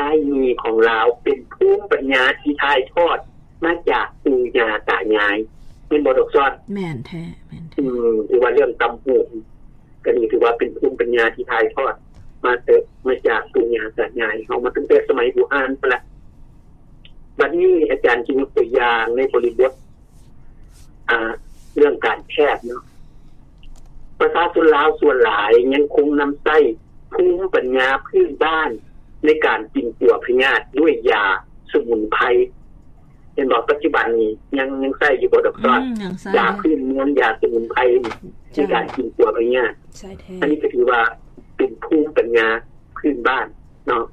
າຍມີຂອງລາວເປັນພູມປັນຍາທີ່ຖ່າຍທອດມາຈາກປູ່ຍ່າຕາຍາຍ ແມ່ນບໍ່ດອກຊອນ? ແມ່ນແທ້ ແມ່ນແທ້. ອືມ ຖືວ່າເລື່ອງຕ່ຳຫູກກໍນີ້ ຖືວ່າເປັນພູມປັນຍາທີ່ຖ່າຍທອດມາແຕ່ ມາຈາກປູ່ຍ່າຕາຍາຍເຮົາ ມາຕັ້ງແຕ່ສະໄໝບູຮານພຸ້ນລະ. ບັດນີ້ອາຈານຊິຍົກຕົວຢ່າງໃນບໍລິບົດ ອ່າ ເລື່ອງການແພດເນາະ, ປະຊາຊົນລາວສ່ວນຫຼາຍຍັງຄົງນຳໃຊ້ພູມປັນຍາພື້ນບ້ານໃນການກິນຕົວພະຍາດດ້ວຍຢາສະໝຸນໄພ ເຫັນບໍ່? ປັດຈຸບັນນີ້ຍັງ ຍັງໃຊ້ຢູ່ບໍ່ດອກຊອນ? ອືມ ຍັງໃຊ້ ຢາພື້ນເມືອງ ຢາສະໝຸນໄພນີ້ ເຈົ້າ ໃນການກິນຕົວພະຍາດ ໃຊ້ແທ້. ອັນນີ້ກໍຖືວ່າເປັນພູມປັນຍາພື້ນບ້ານເນາະ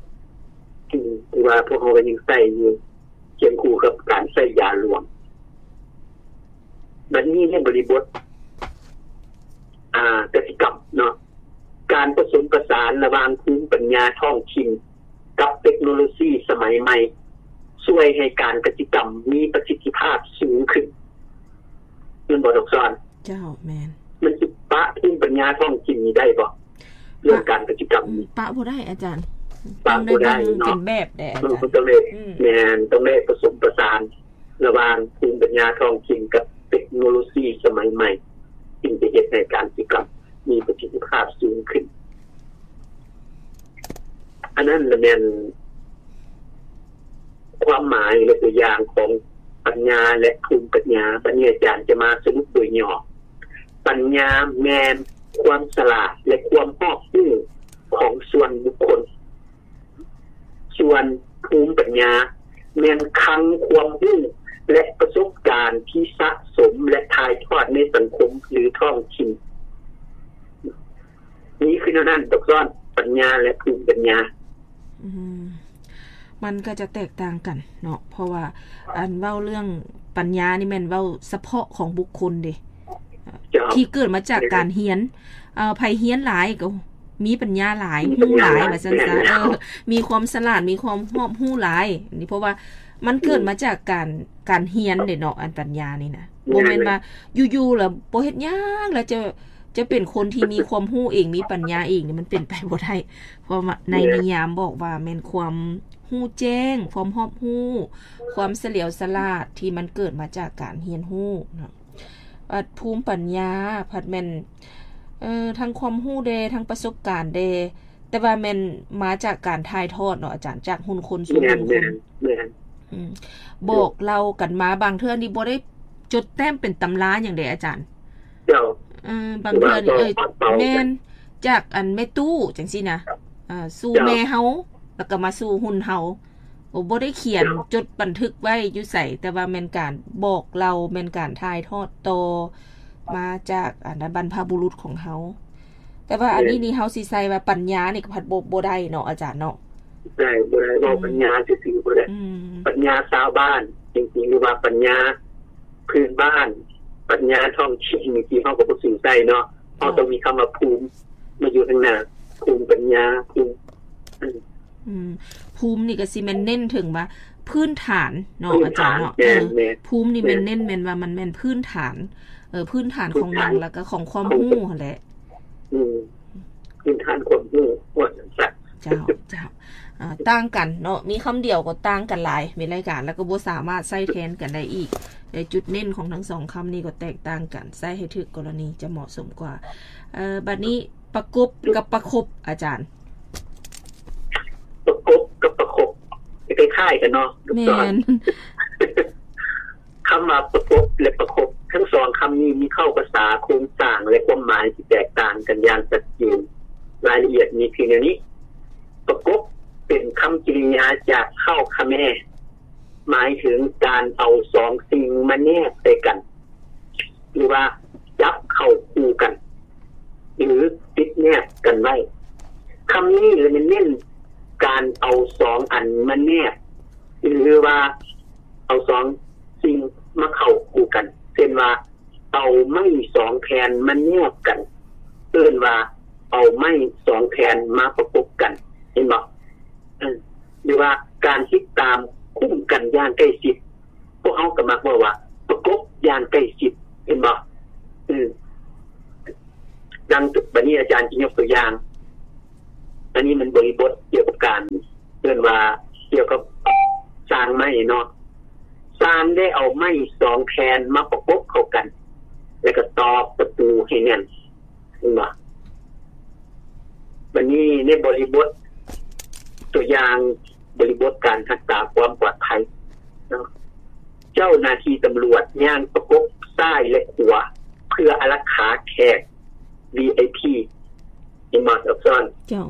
ອືມ ທີ່ວ່າພວກເຮົາກໍຍັງໃຊ້ຢູ່ ຄຽງຄູ່ກັບການໃຊ້ຢາຫຼວງ. ບັດນີ້ໃນບໍລິບົດ ອ່າ ກະສິກຳເນາະ, ການປະສົມປະສານລະຫວ່າງພູມປັນຍາທ້ອງຖິ່ນກັບເຕັກໂນໂລຊີສະໄໝໃໝ່ ຊ່ວຍໃຫ້ການກະສິກຳມີປະສິດທິພາບສູງຂຶ້ນ ແມ່ນບໍ່ດອກຊອນ? ເຈົ້າ ແມ່ນ. ມັນຊິປະພູມປັນຍາທ້ອງຖິ່ນນີ້ໄດ້ບໍ່? ເລື່ອງການກະສິກຳ ປະບໍ່ໄດ້ອາຈານ, ປະບໍ່ໄດ້ເນາະ, ຕ້ອງໄດ້ເບິ່ງເປັນແບບແດ່ອາຈານ. ເອີ ມັນຕ້ອງໄດ້ ອືມ ແມ່ນ ຕ້ອງໄດ້ປະສົມປະສານລະຫວ່າງພູມປັນຍາທ້ອງຖິ່ນກັບເຕັກໂນໂລຊີສະໄໝໃໝ່ ຈຶ່ງຈະເຮັດໃຫ້ການກະສິກຳມີປະສິດທິພາບສູງຂຶ້ນ. ອັນນັ້ນລະແມ່ນ ຄວາມໝາຍ ແລະ ຕົວຢ່າງຂອງປັນຍາ ແລະ ພູມປັນຍາ. ບັດນີ້ອາຈານຈະມາສະຫຼຸບໂດຍຫຍໍ້. ປັນຍາແມ່ນຄວາມສະຫຼາດ ແລະ ຄວາມຮອບຮູ້ຂອງສ່ວນບຸກຄົນ, ສ່ວນພູມປັນຍາແມ່ນຄັງຄວາມຮູ້ ແລະ ປະສົບການທີ່ສະສົມ ແລະ ຖ່າຍທອດໃນສັງຄົມ ຫຼື ທ້ອງຖິ່ນ. ນີ້ຄືແນວນັ້ນ ດອກຊອນ, ປັນຍາ ແລະ ພູມປັນຍາ. ອືມ ມັນກໍຈະແຕກຕ່າງກັນເນາະ, ເພາະວ່າອັນເວົ້າເລື່ອງປັນຍານີ້ແມ່ນເວົ້າສະເພາະຂອງບຸກຄົນເດ້ ເຈົ້າ ທີ່ເກີດມາຈາກການຮຽນ. ເອີ ໃຜຮຽນຫຼາຍກໍມີປັນຍາຫຼາຍ ມີປັນຍາຫຼາຍ ຮູ້ຫຼາຍ ວ່າຊັ້ນຊະ. ເອີ ມີຄວາມສະຫຼາດ ມີຄວາມຮອບຮູ້ຫຼາຍ. ອັນນີ້ເພາະວ່າມັນເກີດມາຈາກການ ອືມ ການຮຽນເດ້ເນາະ, ອັນປັນຍານີ້ນະ. ແມ່ນ ບໍ່ແມ່ນວ່າຢູ່ໆແລ້ວບໍ່ເຮັດຫຍັງ ແລ້ວຈະ ຈະເປັນຄົນທີ່ມີຄວາມຮູ້ເອງ ມີປັນຍາເອງນີ້ ມັນເປັນໄປບໍ່ໄດ້. ເພາະວ່າໃນ ແມ່ນ ນິຍາມບອກວ່າແມ່ນຄວາມຮູ້ແຈ້ງ, ຄວາມຮອບຮູ້, ຄວາມສະຫຼຽວສະຫຼາດທີ່ມັນເກີດມາຈາກການຮຽນຮູ້ເນາະ. ອາ ພູມປັນຍາພັດແມ່ນ ເອີ ທັງຄວາມຮູ້ແດ່ ທັງປະສົບການແດ່ ແຕ່ວ່າແມ່ນມາຈາກການຖ່າຍທອດເນາະອາຈານ, ຈາກຮຸ່ນຄົນສູ່ ແມ່ນ ຮຸ່ນຄົນ ແມ່ນ ແມ່ນ ອືມ ບອກເລົ່າກັນມາ. ບາງເທື່ອນີ້ບໍ່ໄດ້ຈົດແຕ້ມເປັນຕຳລາຫຍັງເດ້ອາຈານ. ເຈົ້າ ເອີ ບາງເທື່ອນີ້ ເອີ ແມ່ນ ຈາກອັນແມ່ຕູ້ຈັ່ງຊີ້ນະ ເອີ ສູ່ ເຈົ້າ ແມ່ເຮົາ ແລ້ວກໍມາສູ່ຮຸ່ນເຮົາ. ໂອ ບໍ່ໄດ້ຂຽນ ເຈົ້າ ຈົດບັນທຶກໄວ້ຢູ່ໃສ, ແຕ່ວ່າແມ່ນການບອກເລົ່າ, ແມ່ນການຖ່າຍທອດຕໍ່ມາຈາກອັນບັນພະບຸລຸດຂອງເຮົາ. ແຕ່ວ່າອັນນີ້ ແມ່ນ ນີ້ເຮົາຊິໃສ່ວ່າປັນຍານີ້ກໍພັດບໍ່ ບໍ່ໄດ້ເນາະອາຈານເນາະ. ໄດ້ ບໍ່ໄດ້ ເວົ້າ ອືມ ປັນຍາຊື່ໆບໍ່ໄດ້. ອືມ ປັນຍາຊາວບ້ານຈິງໆ ຫຼືວ່າປັນຍາພື້ນບ້ານ, ປັນຍາທ້ອງຖິ່ນ ທີ່ເຮົາກໍບໍ່ຖືໃສ່ເນາະ. ເຮົາ ເຈົ້າ ຕ້ອງມີຄຳວ່າພູມມາຢູ່ທາງໜ້າ, ພູມປັນຍາ, ພູມ ອືມ ອືມ ພູມນີ້ກໍຊິແມ່ນເນັ້ນເຖິງວ່າພື້ນຖານເນາະ ພື້ນຖານ ອາຈານເນາະ. ແມ່ນ ເອີ ແມ່ນ ພູມນີ້ແມ່ນ ແມ່ນເນັ້ນແມ່ນວ່າມັນແມ່ນພື້ນຖານ ເອີ ພື້ນຖານຂອງຫຍັງ ພື້ນຖານ ແລ້ວກໍຂອງຄວາມຮູ້ຫັ້ນແຫຼະ. ອືມ ພື້ນຖານຄວາມຮູ້ວ່າຊັ້ນຊະ. ເຈົ້າ ເຈົ້າ ເອີ ຕ່າງກັນເນາະ, ມີຄຳດຽວກໍຕ່າງກັນຫຼາຍ ມີຫຼາຍການ ແລ້ວກໍບໍ່ສາມາດໃຊ້ແທນກັນໄດ້ອີກ. ແຕ່ຈຸດເນັ້ນຂອງທັງສອງຄຳນີ້ກໍແຕກຕ່າງກັນ, ໃຊ້ໃຫ້ຖືກກໍລະນີຈະເໝາະສົມກວ່າ. ເອີ ບັດນີ້ປະກົບກັບປະຄົບ ອາຈານ. ປະກົບກັບປະຄົບ ຄ້າຍໆກັນເນາະ. ແມ່ນ ຄຳວ່າປະກົບ ແລະ ປະຄົບ ທັງສອງຄຳນີ້ມີເຄົ້າພາສາ, ໂຄງສ້າງ ແລະ ຄວາມໝາຍທີ່ແຕກຕ່າງກັນຢ່າງຊັດເຈນ. ລາຍລະອຽດມີພຽງແນວນີ້. ປະກົບເປັນຄຳກິລິຍາຈາກເຄົ້າຂະແມ ໝາຍເຖິງການເອົາສອງສິ່ງມາແນບໃສ່ກັນ ຫຼືວ່າຈັບເຂົ້າຄູ່ກັນ ຫຼືຕິດແນບກັນໄວ້. ຄຳນີ້ລະແມ່ນເນັ້ນການເອົາສອງອັນມາແນບ ຫຼືວ່າເອົາສອງສິ່ງມາເຂົ້າຄູ່ກັນ. ເຊັ່ນວ່າ ເອົາໄມ້ສອງແຜ່ນມາແນບກັນ ເອີ້ນວ່າເອົາໄມ້ສອງແຜ່ນມາປະກົບກັນ ເຫັນບໍ່? ເອີ ຫຼືວ່າການຕິດຕາມຄຸ້ມກັນຢ່າງໃກ້ຊິດ ພວກເຮົາກໍມັກເວົ້າວ່າປະກົບຢ່າງໃກ້ຊິດ ເຫັນບໍ່? ເອີ ດັ່ງບັດນີ້ອາຈານຊິຍົກຕົວຢ່າງ, ອັນນີ້ມັນບໍລິບົດກ່ຽວກັບການ ເອີ້ນວ່າ ກ່ຽວກັບຊ່າງໄມ້ເນາະ, ຊ່າງໄດ້ເອົາໄມ້ສອງແຜ່ນມາປະກົບເຂົ້າກັນ ແລ້ວກໍຕອກປະຕູໃຫ້ແໜ້ນ ເຫັນບໍ່? ບັດນີ້ໃນບໍລິບົດ ຕົວຢ່າງບໍລິບົດການຮັກສາຄວາມປອດໄພເນາະ, ເຈົ້າໜ້າທີ່ຕຳຫຼວດຍ່າງປະກົບຊ້າຍ ແລະ ຂວາ ເພື່ອອາລັກຂາແຂກ ວີໄອພີ ເຫັນບໍ່ ອັກສອນ? ເຈົ້າ.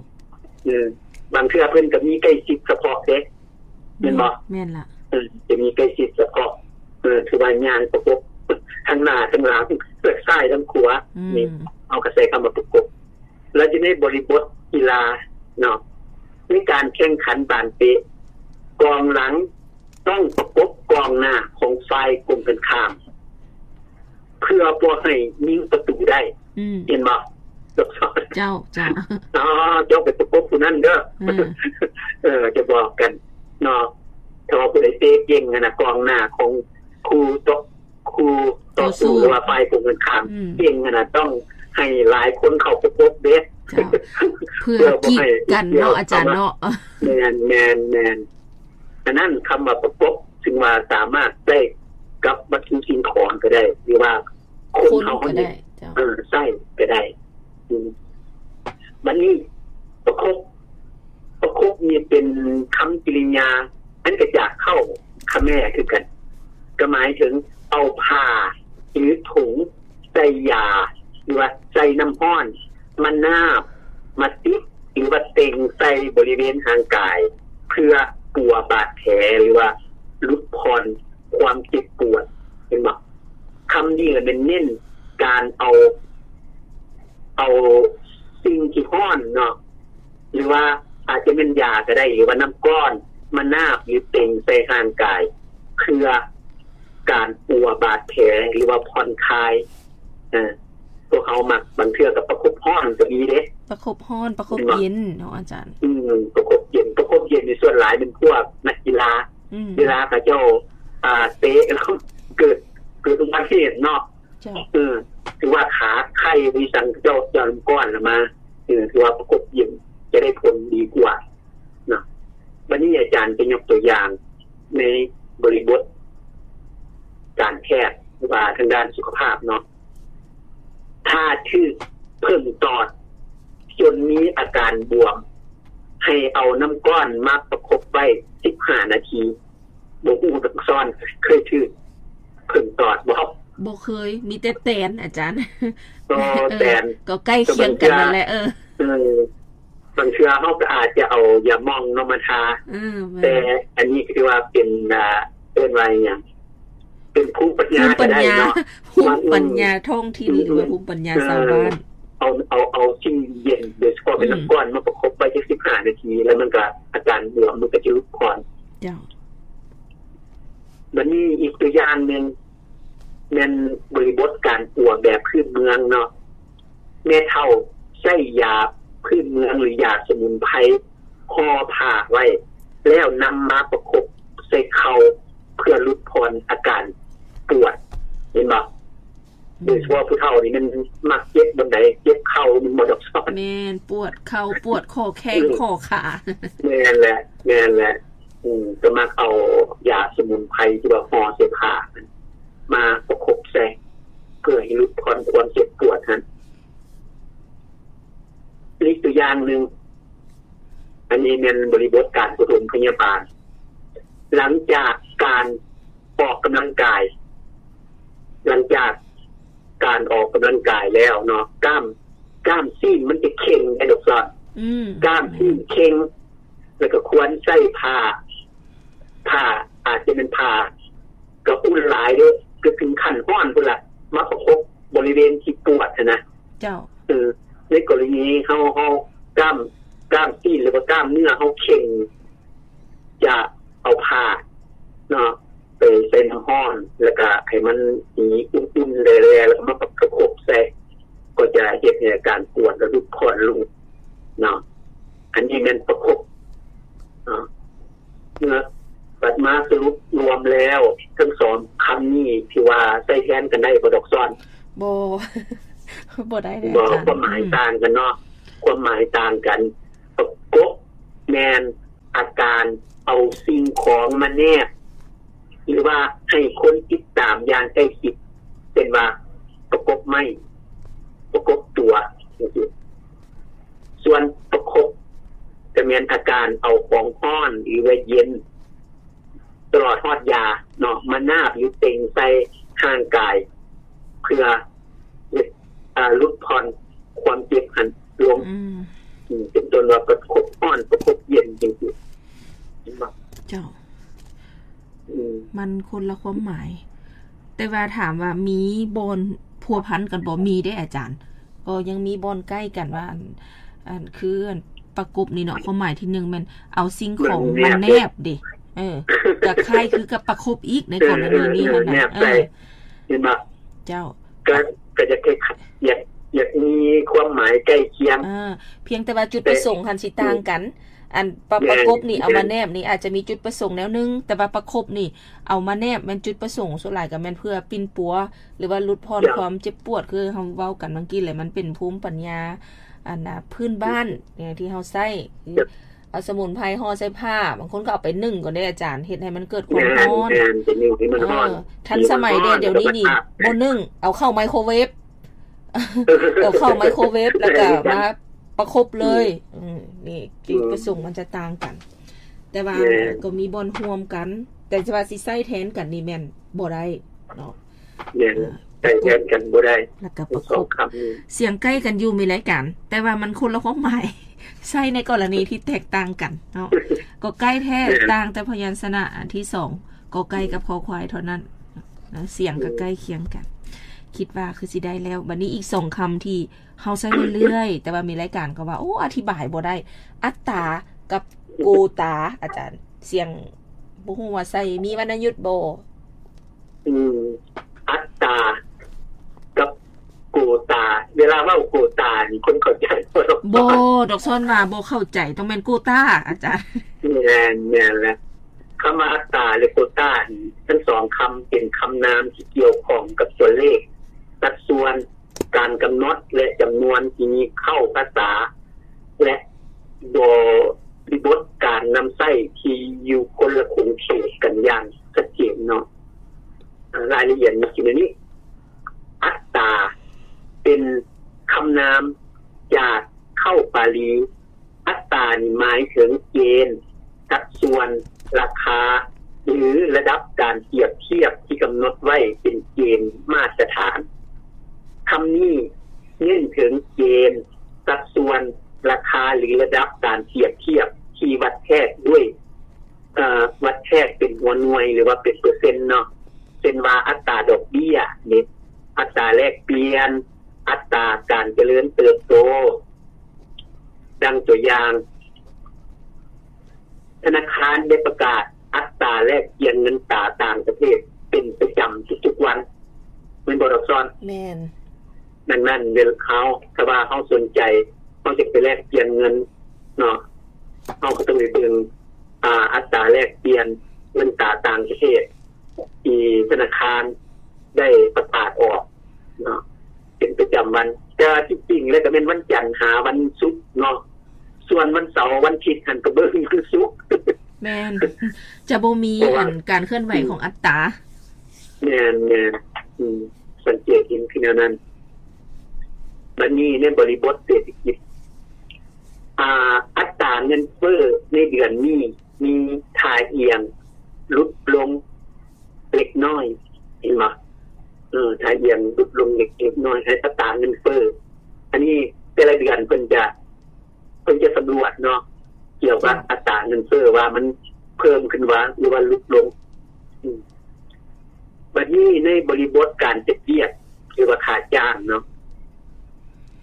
ເອີ ບາງເທື່ອເພິ່ນກໍມີໃກ້ຊິດສະເພາະເດ້ ແມ່ນບໍ່? ແມ່ນລະ. ເອີ ຈະມີໃກ້ຊິດສະເພາະ ເອີ ຖືວ່າຍ່າງປະກົບທັງໜ້າທັງຫຼັງ ທັງຊ້າຍທັງຂວາ. ອືມ ນີ້ ເຮົາກໍໃຊ້ຄຳວ່າປະກົບ. ແລ້ວຢູ່ໃນບໍລິບົດກິລາເນາະ, ໃນການແຂ່ງຂັນບານເຕະ ກອງຫຼັງ ຕ້ອງປະກົບກອງໜ້າຂອງຝ່າຍກົງກັນຂ້າມ ເພື່ອບໍ່ໃຫ້ຍິງປະຕູໄດ້. ອືມ ເຫັນບໍ່? ເຈົ້າ ເຈົ້າ. ອໍ ເຈົ້າໄປປະກົບຜູ້ນັ້ນເດີ. ເອີ ເອີ ຈະບອກກັນເນາະ, ຖ້າວ່າຜູ້ໃດເຕະເກັ່ງຫັ້ນນະ ກອງໜ້າຂອງຄູ່ຕໍ່ ຄູ່ຕໍ່ສູ້ ຕໍ່ສູ້ ຫຼືວ່າຝ່າຍກົງກັນຂ້າມ ອືມ ເກັ່ງຫັ້ນນະ ຕ້ອງໃຫ້ຫຼາຍຄົນເຂົ້າປະກົບເດ້. ເຈົ້າ. ເພື່ອ ເພື່ອບໍ່ໃຫ້ ກີດກັນເນາະ ເພື່ອບໍ່ໃຫ້ ອາຈານເນາະ. ແມ່ນ ແມ່ນ ແມ່ນ. ອັນນັ້ນຄຳວ່າປະກົບ ຊຶ່ງວ່າສາມາດໃຊ້ກັບວັດຖຸສິ່ງຂອງກໍໄດ້ ຫຼືວ່າຄົນ ຄົນ ເຮົາ ກໍໄດ້ ເຈົ້າ ເອີ ໃຊ້ກໍໄດ້. ອືມ ບັດນີ້ປະກົບ ປະກົບນີ້ເປັນຄຳກິລິຍາອັນມາຈາກເຄົ້າຂະແມຄືກັນ, ກໍໝາຍເຖິງເອົາຜ້າ ຫຼື ຖົງໃສ່ຢາ ຫຼືວ່າໃສ່ນ້ຳຮ້ອນມານາບ ມາຕິດ ຫຼືວ່າເຕັງໃສ່ບໍລິເວນຮ່າງກາຍ ເພື່ອປົວບາດແຜ ຫຼືວ່າຫຼຸດຜ່ອນຄວາມເຈັບປວດ. ເຫັນບໍ່? ຄຳນີ້ລະແມ່ນເນັ້ນການເອົາ ເອົາສິ່ງທີ່ຮ້ອນເນາະ ຫຼືວ່າອາດຈະແມ່ນຢາກໍໄດ້ ຫຼືວ່ານ້ຳກ້ອນມານາບ ຫຼື ເຕັງໃສ່ຮ່າງກາຍ ເພື່ອການປົວບາດແຜ ຫຼືວ່າຜ່ອນຄາຍ. ເອີ ພວກເຮົາມັກ ບາງເທື່ອກໍປະຄົບຮ້ອນກໍມີເດ້ ປະຄົບຮ້ອນ ປະຄົບເຢັນເນາະອາຈານ. ອືມ ປະຄົບເຢັນ ປະຄົບເຢັນນີ້ສ່ວນຫຼາຍແມ່ນພວກນັກກິລາ ອືມ ເວລາເຂົາເຈົ້າ ອ່າ ເຕະແລ້ວເກີດ ເກີດອຸບັດຕິເຫດເນາະ. ເຈົ້າ. ເອີ ຖືວ່າຂາໄຄ ຫຼື ສັງ ເຈົ້າ ເຈົ້ານ້ຳກ້ອນລະມາ ເອີ ຖືວ່າປະກົບເຢັນຈະໄດ້ຜົນດີກວ່າເນາະ. ບັດນີ້ອາຈານຈະຍົກຕົວຢ່າງໃນບໍລິບົດການແພດ ຫຼືວ່າທາງດ້ານສຸຂະພາບເນາະ, ຖ້າຖືກເຜິ້ງຕອດຈົນມີອາການບວມ ໃຫ້ເອົານ້ຳກ້ອນມາປະຄົບໄວ້ສິບຫ້ານາທີ. ບໍ່ຮູ້ ອັກສອນ ເຄີຍຖືກເຜິ້ງຕອດບໍ່? ບໍ່ເຄີຍ ມີແຕ່ແຕນ ອາຈານ. ອໍ ເອີ ແຕນ ກໍໃກ້ຄຽງກັນນັ້ນແຫຼະ. ເອີ ເອີ ບາງເທື່ອເຮົາກໍອາດຈະເອົາຢາໝ່ອງເນາະມາທາ. ເອີ ແມ່ນ. ແຕ່ອັນນີ້ກໍຖືວ່າເປັນ ອ່າ ເອີ້ນວ່າຫຍັງ ເປັນພູມປັນຍາກໍໄດ້ເນາະ ພູມປັນຍາ ອືມ ທ້ອງຖິ່ນ ອືມ ຫຼືວ່າພູມປັນຍາ ເອີ ຊາວບ້ານ. ເອົາ ເອົາ ເອົາສິ່ງເຢັນ ໂດຍສະເພາະເປັນ ອືມ ນ້ຳກ້ອນມາປະຄົບໄວ້ຈັກສິບຫ້ານາທີ ແລ້ວມັນກໍ ອາການບວມມັນກໍຈະຫຼຸດຜ່ອນ. ເຈົ້າ. ບັດນີ້ອີກຕົວຢ່າງໜຶ່ງ ແມ່ນບໍລິບົດການປົວແບບພື້ນເມືອງເນາະ, ແມ່ເຖົ້າໃຊ້ຢາພື້ນເມືອງ ຫຼື ຢາສະໝຸນໄພຫໍ່ຜ້າໄວ້ ແລ້ວນຳມາປະຄົບໃສ່ເຂົ່າ ເພື່ອຫຼຸດຜ່ອນອາການປວດ. ເຫັນບໍ່? ໂດຍສະເພາະຜູ້ເຖົ້ານີ້ມັນມັກເຈັບບ່ອນໃດ ເຈັບເຂົ່າແມ່ນບໍ່ດອກສອນ? ແມ່ນ ປວດເຂົ່າ ປວດຂໍ້ແຂ້ງ ອືມ ຂໍ້ຂາ. ແມ່ນແຫຼະ ແມ່ນແຫຼະ. ອືມ ກໍມັກເອົາຢາສະໝຸນໄພທີ່ວ່າຫໍ່ໃສ່ຜ້ານັ້ນມາປະຄົບໃສ່ ເພື່ອໃຫ້ຫຼຸດຜ່ອນຄວາມເຈັບປວດຫັ້ນ. ອີກຕົວຢ່າງໜຶ່ງ ອັນນີ້ແມ່ນບໍລິບົດການປະຖົມພະຍາບານ ຫຼັງຈາກການອອກກຳລັງກາຍ ຫຼັງຈາກການອອກກຳລັງກາຍແລ້ວເນາະ ກ້າມ ກ້າມຊີ້ນມັນຈະເຄັ່ງໄດ໋ ອືມ ກ້າມຊີ້ນເຄັ່ງ ແລ້ວກໍຄວນໃຊ້ຜ້າ ຜ້າ ອາດຈະແມ່ນຜ້າ ກໍອຸ່ນຫຼາຍເດ້ ກໍເຖິງຂັ້ນຮ້ອນພຸ້ນລະ ມາປະຄົບບໍລິເວນທີ່ປວດຫັ້ນນະ. ເຈົ້າ. ເອີ ໃນກໍລະນີເຮົາ ເຮົາກ້າມ ກ້າມຊີ້ນ ຫຼືວ່າກ້າມເນື້ອເຮົາເຄັ່ງ ຈະເອົາຜ້າເນາະ ໄປໃສ່ນ້ຳຮ້ອນ ແລ້ວກະໃຫ້ມັນມີອຸ່ນໆແຫຼະໆ ແລ້ວກະມາປະຄົບໃສ່ ກໍຈະເຮັດໃຫ້ອາການປວດລະຫຼຸດຜ່ອນລົງເນາະ. ອັນນີ້ແມ່ນປະຄົບເນາະ. ເມື່ອ ບັດມາສະຫຼຸບລວມແລ້ວ ທັງສອງຄຳນີ້ ທີ່ວ່າໃຊ້ແທນກັນໄດ້ບໍ່ ດອກສອນ? ບໍ່ ບໍ່ໄດ້ເລີຍ ບໍ່ ອາຈານ. ຄວາມໝາຍ ອືມ ຕ່າງກັນເນາະ ຄວາມໝາຍຕ່າງກັນ. ປະກົບແມ່ນ ອາການເອົາສິ່ງຂອງມາແນບ ຫຼືວ່າໃຫ້ຄົນຕິດຕາມຢ່າງໃກ້ຊິດ ເຊັ່ນວ່າປະກົບໄມ້ ປະກົບຕົວ ຈັ່ງຊີ້. ສ່ວນປະຄົບ ກະແມ່ນອາການເອົາຂອງຮ້ອນ ຫຼືວ່າເຢັນ ຕະຫຼອດຮອດຢາເນາະ ມານາບ ຫຼື ເຕັງໃສ່ຮ່າງກາຍ ເພື່ອເຮັດ ອາ ຫຼຸດຜ່ອນຄວາມເຈັບຫັ້ນລົງ. ອືມ ອືມ ເປັນຕົ້ນວ່າປະຄົບຮ້ອນ ປະຄົບເຢັນ ຈັ່ງຊີ້ ເຫັນບໍ່? ເຈົ້າ ອືມ ມັນຄົນລະຄວາມໝາຍ. ແຕ່ວ່າຖາມວ່າມີບ່ອນພົວພັນກັນບໍ່? ມີເດ້ອາຈານ. ກໍຍັງມີບ່ອນໃກ້ກັນວ່າ ອັນ ອັນ ຄື ອັນ ປະກົບນີ້ເນາະ ຄວາມໝາຍທີໜຶ່ງແມ່ນເອົາສິ່ງຂອງມາແນບເດ້. ເອີ ກະຄ້າຍຄືກັບປະຄົບອີກໃນກໍລະນີນີ້ຫັ້ນນະ. ເອີ ເຫັນບໍ່? ເຈົ້າ ກະ ກະຢາກ ຢາກ ຢາກມີຄວາມໝາຍໃກ້ຄຽງ. ເອີ ພຽງແຕ່ວ່າຈຸດປະສົງຫັ້ນຊິຕ່າງກັນ. ອັນປະ ປະກົບນີ້ເອົາມາແນບນີ້ອາດຈະມີຈຸດປະສົງແນວໜຶ່ງ, ແຕ່ວ່າປະຄົບນີ້ເອົາມາແນບແມ່ນຈຸດປະສົງສ່ວນຫຼາຍກໍແມ່ນເພື່ອປິ່ນປົວ ຫຼືວ່າຫຼຸດຜ່ອນຄວາມເຈັບປວດ ຄືເຮົາເວົ້າກັນເມື່ອກີ້ແຫຼະ ມັນເປັນພູມປັນຍາ ອັນນະ ພື້ນບ້ານທີ່ເຮົາໃຊ້ ເອົາສະໝຸນໄພຫໍ່ໃສ່ຜ້າ ບາງຄົນກໍເອົາໄປໜຶ້ງກ່ອນເດ້ອາຈານ ເຮັດໃຫ້ມັນເກີດຄວາມຮ້ອນ. ເອີ ທັນສະໄໝເດ້ ດຽວນີ້ນີ້ບໍ່ໜຶ້ງ ເອົາເຂົ້າໄມໂຄເວຟ ເອົາເຂົ້າໄມໂຄເວຟ ແລ້ວກໍມາປະຄົບເລີຍ. ອືມ ນີ້ຈຸດປະສົງມັນຈະຕ່າງກັນ ແຕ່ວ່າກໍມີບ່ອນຮ່ວມກັນ ແຕ່ວ່າຊິໃຊ້ແທນກັນນີ້ແມ່ນບໍ່ໄດ້ເນາະ. ແມ່ນ ໃຊ້ແທນກັນບໍ່ໄດ້ ແລ້ວກໍປະຄົບ ສຽງໃກ້ກັນຢູ່ມີລາຍການ ແຕ່ວ່າມັນຄົນລະຄວາມໝາຍ ໃຊ້ໃນກໍລະນີທີ່ແຕກຕ່າງກັນເນາະ. ກໍໃກ້ແທ້ ຕ່າງແຕ່ພະຍັນຊະນະອັນທີສອງ ກໍໄກ່ກັບຄໍຄວາຍເທົ່ານັ້ນນະ ສຽງກໍໃກ້ຄຽງກັນ. ຄິດວ່າຄືຊິໄດ້ແລ້ວ. ບັດນີ້ອີກສອງຄຳທີ່ເຮົາໃຊ້ເລື້ອຍໆ ແຕ່ວ່າມີລາຍການກໍວ່າ ໂອ້ ອະທິບາຍບໍ່ໄດ້ ອັດຕາກັບໂກຕາ ອາຈານ ສຽງ ບໍ່ຮູ້ວ່າໃຊ້ມີວັນນະຍຸດບໍ່? ອືມ ອັດຕາກັບໂກຕາ ເວລາເວົ້າໂກຕານີ້ຄົນເຂົ້າໃຈບໍ່? ບໍ່ ດອກຊອນວ່າບໍ່ເຂົ້າໃຈ ຕ້ອງແມ່ນໂກຕາ ອາຈານ. ແມ່ນ ແມ່ນແຫຼະ ຄຳວ່າອັດຕາ ແລະ ໂກຕານີ້ ທັງສອງຄຳເປັນຄຳນາມທີ່ກ່ຽວຂ້ອງກັບຕົວເລກ, ສັດສ່ວນ, ການກຳນົດ ແລະ ຈຳນວນທີ່ມີເຄົ້າພາສາ ແລະ ບໍລິບົດການນຳໃຊ້ທີ່ຢູ່ຄົນລະຂົງເຂດກັນຢ່າງຊັດເຈນເນາະ. ອາ ລາຍລະອຽດມີຢູ່ໃນນີ້. ອັດຕາ ເປັນຄຳນາມຈາກເຄົ້າປາລີ. ອັດຕານີ້ໝາຍເຖິງເກນ, ສັດສ່ວນ, ລາຄາ ຫຼື ລະດັບການປຽບທຽບທີ່ກຳນົດໄວ້ເປັນເກນມາດຕະຖານ. ຄຳນີ້ເນັ້ນເຖິງເກນ, ສັດສ່ວນ, ລາຄາ ຫຼື ລະດັບການປຽບທຽບທີ່ວັດແທກດ້ວຍ ເອີ ວັດແທກເປັນຫົວໜ່ວຍ ຫຼືວ່າເປັນເປີເຊັນເນາະ, ເຊັ່ນວ່າອັດຕາດອກເບ້ຍເດ ອັດຕາແລກປ່ຽນ, ອັດຕາການຈະເລີນເຕີບໂຕ. ດັ່ງຕົວຢ່າງ, ທະນາຄານໄດ້ປະກາດອັດຕາແລກປ່ຽນເງິນຕາຕ່າງປະເທດເປັນປະຈຳທຸກໆວັນ ແມ່ນບໍ່ດອກຊອນ? ແມ່ນ. ດັ່ງນັ້ນ ເວລາເຮົາ ຖ້າວ່າເຮົາສົນໃຈ ເຮົາຈະໄປແລກປ່ຽນເງິນເນາະ ເຮົາກໍຕ້ອງໄປເບິ່ງ ອາ ອັດຕາແລກປ່ຽນເງິນຕາຕ່າງປະເທດ ທີ່ທະນາຄານໄດ້ປະກາດອອກເນາະ ເປັນປະຈຳວັນ. ແຕ່ວ່າທີ່ຈິງແລ້ວກໍແມ່ນວັນຈັນຫາວັນສຸກເນາະ, ສ່ວນວັນເສົາວັນທິດຫັ້ນກໍເບິ່ງຄືສຸກ. ແມ່ນ ຈະບໍ່ມີ ເພາະວ່າ ອັນ ການເຄື່ອນໄຫວ ອືມ ຂອງອັດຕາ. ແມ່ນ ແມ່ນ ອືມ ສັງເກດເຫັນຄືແນວນັ້ນ. ບັດນີ້ໃນບໍລິບົດເສດຖະກິດ ອາ ອັດຕາເງິນເຟີ້ໃນເດືອນນີ້ມີທ່າອ່ຽງຫຼຸດລົງເລັກນ້ອຍ ເຫັນບໍ່? ເອີ ທ່າອ່ຽງຫຼຸດລົງເລັກ ເລັກນ້ອຍໃນອັດຕາເງິນເຟີ້. ອັນນີ້ແຕ່ລະເດືອນເພິ່ນຈະ ເພິ່ນຈະສຳຫຼວດເນາະ ກ່ຽວກັບ ເຈົ້າ ອັດຕາເງິນເຟີ້ວ່າມັນເພີ່ມຂຶ້ນວ່າ ຫຼືວ່າຫຼຸດລົງ. ອືມ ບັດນີ້ໃນບໍລິບົດການເຮັດວຽກ ຫຼືວ່າຄ່າຈ້າງເນາະ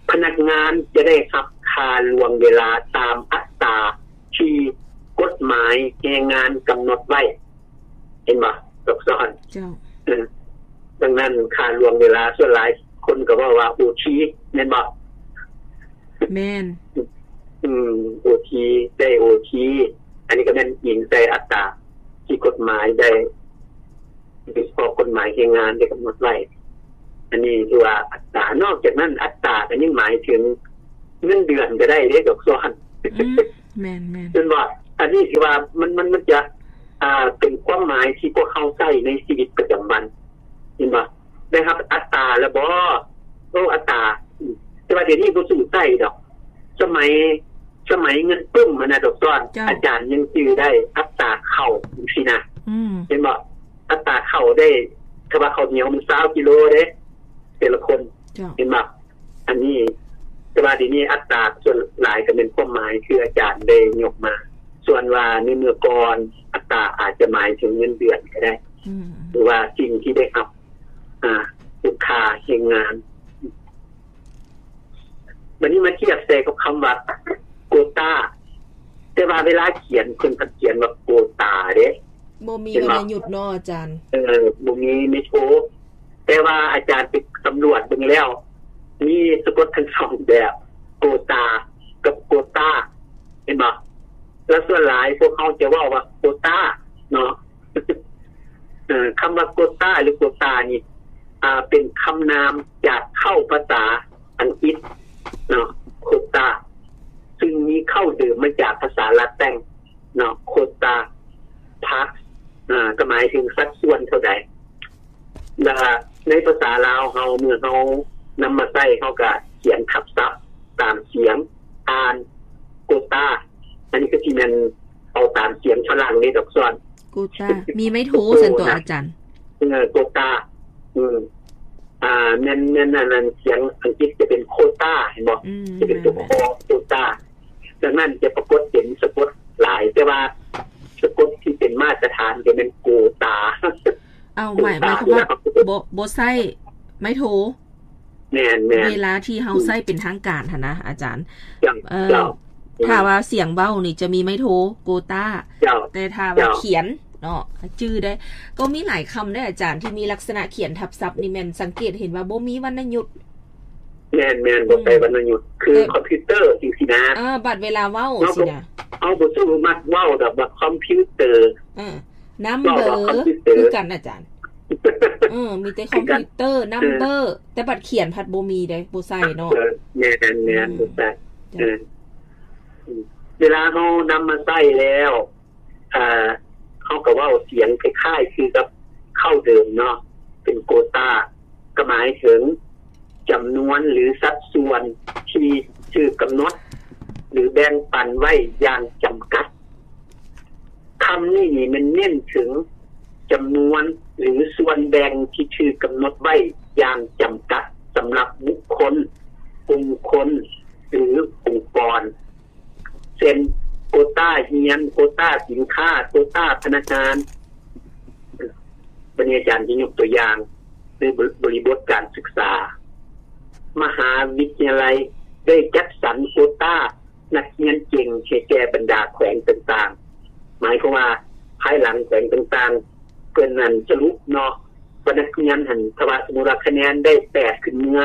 ພະນັກງານຈະໄດ້ຮັບຄ່າລ່ວງເວລາຕາມອັດຕາທີ່ກົດໝາຍແຮງງານກຳນົດໄວ້. ເຫັນບໍ່? ຊັບຊ້ອນ. ເຈົ້າ. ເອີ ດັ່ງນັ້ນ ຄ່າລ່ວງເວລາ ສ່ວນຫຼາຍຄົນກໍເວົ້າວ່າໂອທີ ແມ່ນບໍ່? ແມ່ນ. ອືມ ໂອທີ ໄດ້ໂອທີ ອັນນີ້ກໍແມ່ນອີງໃສ່ອັດຕາທີ່ກົດໝາຍໄດ້ ໂດຍສະເພາະກົດໝາຍແຮງງານໄດ້ກຳນົດໄວ້. ອັນນີ້ຖືວ່າອັດຕາ. ນອກຈາກນັ້ນ ອັດຕາກໍຍັງໝາຍເຖິງເງິນເດືອນກໍໄດ້ເດ້ ດອກຊອນ. ອືມ ແມ່ນໆ. ແມ່ນບໍ່? ອັນນີ້ຄືວ່າມັນ ມັນ ມັນຈະ ອ່າ ເປັນຄວາມໝາຍທີ່ພວກເຮົາໃຊ້ໃນຊີວິດປະຈຳວັນ ເຫັນບໍ່? ໄດ້ຮັບອັດຕາແລ້ວບໍ່? ໂອ້ ອັດຕາ ແຕ່ວ່າດຽວນີ້ບໍ່ສູ່ໃຊ້ດອກ. ສະໄໝ ສະໄໝເງິນປຶ້ມຫັ້ນນະ ດອກສອນ ເຈົ້າ ອາຈານຍັງຈື່ໄດ້ ອັດຕາເຂົ້າຈັ່ງຊີ້ນະ ອືມ ເຫັນບໍ່? ອັດຕາເຂົ້າໄດ້ ຖ້າວ່າເຂົ້າໜຽວມັນຊາວກິໂລເດ້ ແຕ່ລະຄົນ ເຈົ້າ ເຫັນບໍ່? ອັນນີ້ ແຕ່ວ່າດຽວນີ້ອັດຕາສ່ວນຫຼາຍກໍແມ່ນຄວາມໝາຍຄືອາຈານໄດ້ຍົກມາ. ສ່ວນວ່າໃນເມື່ອກ່ອນ ອັດຕາອາດຈະໝາຍເຖິງເງິນເດືອນກໍໄດ້ ອືມ ຫຼືວ່າສິ່ງທີ່ໄດ້ຮັບ ອ່າ ຄຸນຄ່າແຮງງານ. ບັດນີ້ມາທຽບໃສ່ກັບຄຳວ່າໂກຕາ ແຕ່ວ່າເວລາຂຽນເພິ່ນກໍຂຽນວ່າໂກຕາເດ້ ບໍ່ມີວັນນະຍຸດເນາະອາຈານ. ເອີ ບໍ່ມີ ໄມໂທ ແຕ່ວ່າອາຈານໄປສຳຫຼວດເບິ່ງແລ້ວ ມີສະກົດທັງສອງແບບ ໂກຕາກັບໂກຕາ ເຫັນບໍ່? ແລ້ວສ່ວນຫຼາຍພວກເຮົາຈະເວົ້າວ່າໂກຕາເນາະ. ເອີ ຄຳວ່າໂກຕາ ຫຼື ໂກຕານີ້ ອ່າ ເປັນຄຳນາມຈາກເຄົ້າພາສາອັງກິດເນາະ ໂຄຕາ ຊຶ່ງມີເຄົ້າເດີມມາຈາກພາສາລາແຕັງເນາະ ໂຄຕາ ພາສ ອ່າ ກໍໝາຍເຖິງສັດສ່ວນເທົ່າໃດ. ແລ້ວໃນພາສາລາວເຮົາ ເມື່ອເຮົານຳມາໃຊ້ ເຮົາກໍຂຽນທັບສັບຕາມສຽງ ອ່ານ ໂກຕາ. ອັນນີ້ກໍຊິແມ່ນເອົາຕາມສຽງຝຣັ່ງເດ້ ດອກສອນ ໂກຕາ ມີໄມໂທ ໂກຕາ ຊັ້ນຕົວອາຈານ. ເອີ ໂກຕາ ອືມ ອ່າ ແມ່ນ ແມ່ນ ອັນນັ້ນ ສຽງອັງກິດຈະເປັນໂຄຕາ ເຫັນບໍ່? ອືມ ຈະເປັນຕົວ ແມ່ນໆ ຄໍ ໂກຕາ. ດັ່ງນັ້ນຈະປາກົດເປັນສະກົດຫຼາຍ ແຕ່ວ່າສະກົດທີ່ເປັນມາດຕະຖານຈະແມ່ນໂກຕາ. ເອົາ ໝາຍ ໂກຕາ ໝາຍຄວາມວ່າ ເວລາເຮົາ ບໍ່ ບໍ່ໃຊ້ໄມໂທ. ແມ່ນໆ ເວລາທີ່ເຮົາ ອືມ ໃຊ້ເປັນທາງການຫັ້ນນະອາຈານ. ເຈົ້າ ເອີ ເຈົ້າ ຖ້າວ່າສຽງເວົ້ານີ້ຈະມີໄມໂທ ໂກຕາ ເຈົ້າ ແຕ່ຖ້າວ່າ ເຈົ້າ ຂຽນເນາະ ຈື່ໄດ້. ກໍມີຫຼາຍຄຳເດ້ອາຈານ ທີ່ມີລັກສະນະຂຽນທັບສັບນີ້ ແມ່ນສັງເກດເຫັນວ່າບໍ່ມີວັນນະຍຸດ. ແມ່ນໆ ບໍ່ໃຊ້ວັນນະຍຸດ ຄື ແຕ່ ຄອມພິວເຕີຈັ່ງຊີ້ນະ. ເອີ ບັດເວລາເວົ້າ ເຮົາ ຊີ້ນະ ເຮົາບໍ່ ບໍ່ສາມາດເວົ້າດອກວ່າຄອມພິວເຕີ ເອີ ນຳເບີ ເວົ້າວ່າຄອມພິວເຕີ ຄືກັນອາຈານ. ເອີ ມີແຕ່ ຄືກັນ ຄອມພິວເຕີ ນຳເບີ ເອີ ແຕ່ບັດຂຽນພັດບໍ່ມີເດ້ ບໍ່ໃຊ້ເນາະ. ເອີ ແມ່ນໆ ອືມ ບໍ່ໃຊ້. ເຈົ້າ ເອີ ເວລາເຮົານຳມາໃຊ້ແລ້ວ ອ່າ ເຮົາກໍເວົ້າສຽງຄ້າຍໆຄືກັບເຄົ້າເດີມເນາະ ເປັນໂກຕາ ກໍໝາຍເຖິງຈຳນວນ ຫຼື ສັດສ່ວນທີ່ຖືກກຳນົດ ຫຼື ແບ່ງປັນໄວ້ຢ່າງຈຳກັດ. ຄຳນີ້ນີ້ແມ່ນເນັ້ນເຖິງຈຳນວນ ຫຼື ສ່ວນແບ່ງທີ່ຖືກກຳນົດໄວ້ຢ່າງຈຳກັດ ສຳລັບບຸກຄົນ, ກຸ່ມຄົນ ຫຼື ອົງກອນ. ເຊັ່ນ ໂກຕາຮຽນ, ໂກຕາສິນຄ້າ, ໂກຕາພະນັກງານ. ບັດນີ້ອາຈານຈະຍົກຕົວຢ່າງໃນບໍ ບໍລິບົດການສຶກສາ. ມະຫາວິທະຍາໄລໄດ້ຈັດສັນໂກຕານັກຮຽນເກັ່ງໃຫ້ແກ່ບັນດາແຂວງຕ່າງໆ. ໝາຍຄວາມວ່າພາຍຫຼັງແຂວງຕ່າງໆ ເພິ່ນນັ້ນສະຫຼຸບເນາະ ວ່ານັກຮຽນຫັ້ນ ຖ້າວ່າສົມມຸດວ່າຄະແນນໄດ້ແປດຂຶ້ນເມືອ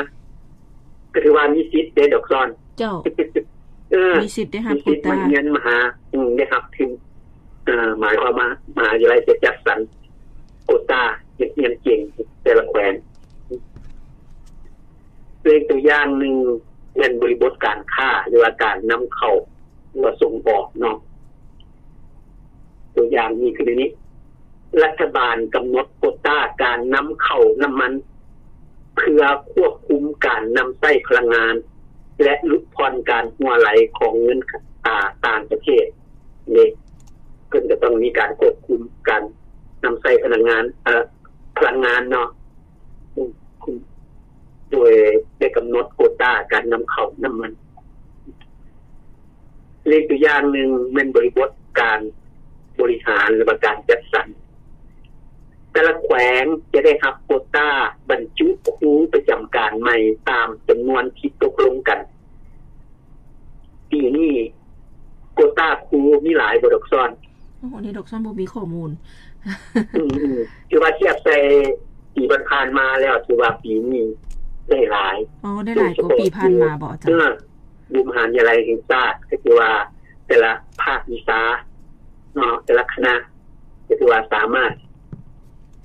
ກໍຖືວ່າມີສິດເດ້ ດອກຊອນ. ເຈົ້າ ເອີ ມີສິດໄດ້ຮັບ ມີສິດໂກຕາ ມາຮຽນມະຫາ ອືມ ໄດ້ຮັບທຶນ. ເອີ ໝາຍຄວາມວ່າມະຫາວິທະຍາໄລຈະຈັດສັນໂກຕາເດັກຮຽນເກັ່ງແຕ່ລະແຂວງ. ເປັນຕົວຢ່າງໜຶ່ງ ແມ່ນບໍລິບົດການຄ້າ ຫຼືວ່າການນຳເຂົ້າ ຫຼືວ່າສົ່ງອອກເນາະ. ຕົວຢ່າງນີ້ຄືໃນນີ້ ລັດຖະບານກຳນົດໂກຕາການນຳເຂົ້ານ້ຳມັນ ເພື່ອຄວບຄຸມການນຳໃຊ້ພະລັງງານ ແລະ ຫຼຸດຜ່ອນການຮົ່ວໄຫຼຂອງເງິນ ອາ ຕ່າງປະເທດເດ້. ເພິ່ນກໍຕ້ອງມີການຄວບຄຸມການນຳໃຊ້ພະລັງງານ ເອີ ພະລັງງານເນາະ ໂດຍໄດ້ກຳນົດໂກຕາການນຳເຂົ້ານ້ຳມັນ. ເລກຕົວຢ່າງໜຶ່ງແມ່ນບໍລິບົດການບໍລິຫານ ຫຼືວ່າການຈັດສັນ. ແຕ່ລະແຂວງຈະໄດ້ຮັບໂກຕາບັນຈຸຄູປະຈຳການໃໝ່ຕາມຈຳນວນທີ່ຕົກລົງກັນ. ປີນີ້ໂກຕາຄູມີຫຼາຍບໍ່ ດອກຊອນ? ໂອ້ ອັນນີ້ດອກຊອນບໍ່ມີຂໍ້ມູນ. ອືມໆ ຖືວ່າທຽບໃສ່ປີຜ່ານໆມາແລ້ວ ຖືວ່າປີນີ້ໄດ້ຫຼາຍ. ອໍ ໄດ້ຫຼາຍກວ່າປີຜ່ານມາບໍ່ອາຈານ? ເອີ ຢູ່ມະຫາວິທະຍາໄລແຫ່ງຊາດ ກໍຄືວ່າແຕ່ລະພາກວິຊາເນາະ ແຕ່ລະຄະນະ ກໍຖືວ່າສາມາດ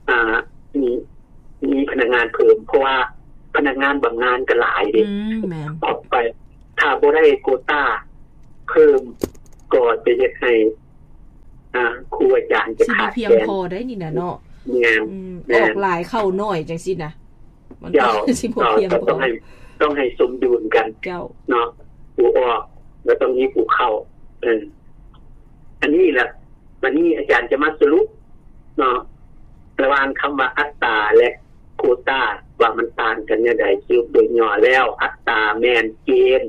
ອ່າ ມີ ມີພະນັກງານເພີ່ມ ເພາະວ່າພະນັກງານບຳນານກໍຫຼາຍເດ້. ອືມ ແມ່ນ. ອອກໄປ ຖ້າບໍ່ໄດ້ໂກຕາເພີ່ມ ກໍຈະເຮັດໃຫ້ ອາຈານຈະຂາດແຄນ ຊິບໍ່ພຽງພໍໄດ໋ນີ້ນະເນາະ. ແມ່ນ ອືມ ແມ່ນ ອອກຫຼາຍເຂົ້າໜ້ອຍຈັ່ງຊີ້ນະ ມັນ ເຈົ້າ ກໍຊິບໍ່ພຽງພໍ ເຈົ້າ ກໍຕ້ອງໃຫ້ ຕ້ອງໃຫ້ສົມດຸນກັນ ເຈົ້າ ເນາະ. ຜູ້ອອກກໍຕ້ອງມີຜູ້ເຂົ້າ. ເອີ ອັນນີ້ລະ ບັດນີ້ອາຈານຈະມາສະຫຼຸບເນາະ ລະຫວ່າງຄຳວ່າອັດຕາ ແລະ ໂກຕາ ວ່າມັນຕ່າງກັນແນວໃດ. ສະຫຼຸບໂດຍຫຍໍ້ແລ້ວ ອັດຕາແມ່ນເກນ,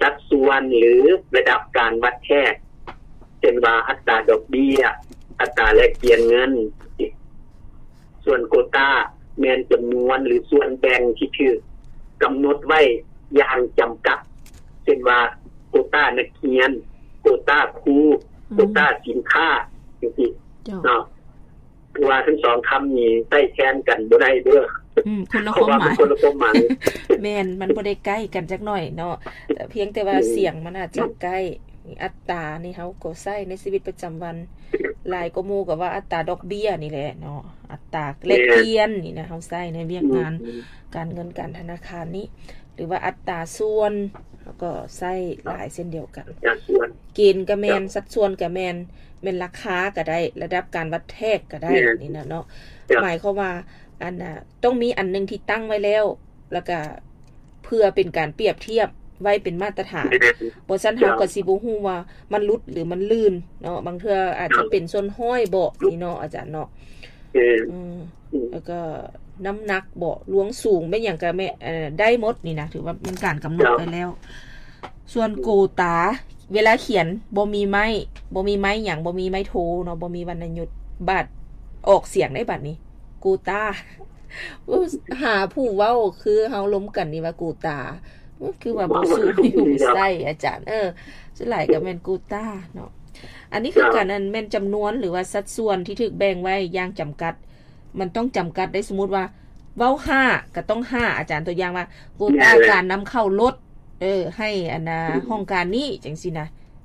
ສັດສ່ວນ ຫຼື ລະດັບການວັດແທກ ເຊັ່ນວ່າ ອັດຕາດອກເບ້ຍ, ອັດຕາແລກປ່ຽນເງິນ. ສ່ວນໂກຕາແມ່ນຈຳນວນ ຫຼື ສ່ວນແບ່ງທີ່ຖືກກຳນົດໄວ້ຢ່າງຈຳກັດ ເຊັ່ນວ່າ ໂກຕານັກຮຽນ, ໂກຕາຄູ, ອືມ ໂກຕາສິນຄ້າ ຈັ່ງຊີ້ ເຈົ້າ ເນາະ. ຄືວ່າທັງສອງຄຳນີ້ໃຊ້ແທນກັນບໍ່ໄດ້ເດີ້. ອືມ ຄົນລະຄວາມໝາຍ ເພາະວ່າມັນຄົນລະຄວາມໝາຍ. ແມ່ນ ມັນບໍ່ໄດ້ໃກ້ກັນຈັກໜ້ອຍເນາະ ພຽງແຕ່ວ່າ ອືມ ສຽງມັນອາດຈະໃກ້. ອັດຕານີ້ເຮົາກໍໃຊ້ໃນຊີວິດປະຈຳວັນຫຼາຍກວ່າໝູ່ ກໍວ່າອັດຕາດອກເບ້ຍນີ້ແຫຼະເນາະ ອັດຕາແລກປ່ຽນນີ້ນະ ເຮົາໃຊ້ໃນວຽກງານ ອືມ ການເງິນການທະນາຄານນີ້ ຫຼືວ່າອັດຕາສ່ວນ ເຮົາກໍໃຊ້ຫຼາຍເຊັ່ນດຽວກັນ. ເກນກໍແມ່ນ ສັດສ່ວນກໍແມ່ນ ແມ່ນລາຄາກໍໄດ້ ລະດັບການວັດແທກກໍໄດ້ ແມ່ນ ນີ້ນະເນາະ. ເຈົ້າ ໝາຍຄວາມວ່າ ອັນນ່າ ຕ້ອງມີອັນໜຶ່ງທີ່ຕັ້ງໄວ້ແລ້ວ ແລ້ວກໍເພື່ອເປັນການປຽບທຽບໄວ້ເປັນມາດຕະຖານ ແມ່ນ ບໍ່ຊັ້ນເຮົາກໍຊິບໍ່ຮູ້ວ່າມັນຫຼຸດ ຫຼື ມັນລື່ນເນາະ. ບາງເທື່ອອາດຈະເປັນສ່ວນຮ້ອຍເບາະນີ້ເນາະ ອາຈານເນາະ. ແມ່ນ ອືມ ອືມ ແລ້ວກໍນ້ຳໜັກເບາະ ລວງສູງ ແມ່ນຫຍັງກໍແມ່ນ ເອີ ໄດ້ໝົດນີ້ນະ ຖືວ່າແມ່ນການກຳນົດໄວ້ແລ້ວ. ສ່ວນໂກຕາ ເວລາຂຽນບໍ່ມີໄມ້ ບໍ່ມີໄມ້ຫຍັງ ບໍ່ມີໄມ້ໂທເນາະ ບໍ່ມີວັນນະຍຸດ ບາດອອກສຽງໄດ້ບາດນີ້ ໂກຕາ. ໂອ້ ຫາຜູ້ເວົ້າຄືເຮົາລົມກັນນີ້ວ່າກູຕາ ໂອ້ ຄືວ່າບໍ່ສູ້ຢູ່ໃສ່ອາຈານ. ເອີ ສ່ວນຫຼາຍກໍແມ່ນກູຕາເນາະ. ອັນນີ້ຄືກັນ ອັນແມ່ນຈຳນວນ ຫຼືວ່າສັດສ່ວນທີ່ຖືກແບ່ງໄວ້ຢ່າງຈຳກັດ ມັນຕ້ອງຈຳກັດໄດ້. ສົມມຸດວ່າເວົ້າຫ້າກໍຕ້ອງຫ້າ ອາຈານ. ຕົວຢ່າງວ່າ ໂກຕາການນຳເຂົ້າລົດ ເອີ ໃຫ້ອັນນ່າ ຫ້ອງການນີ້ ຈັ່ງຊີ້ນະ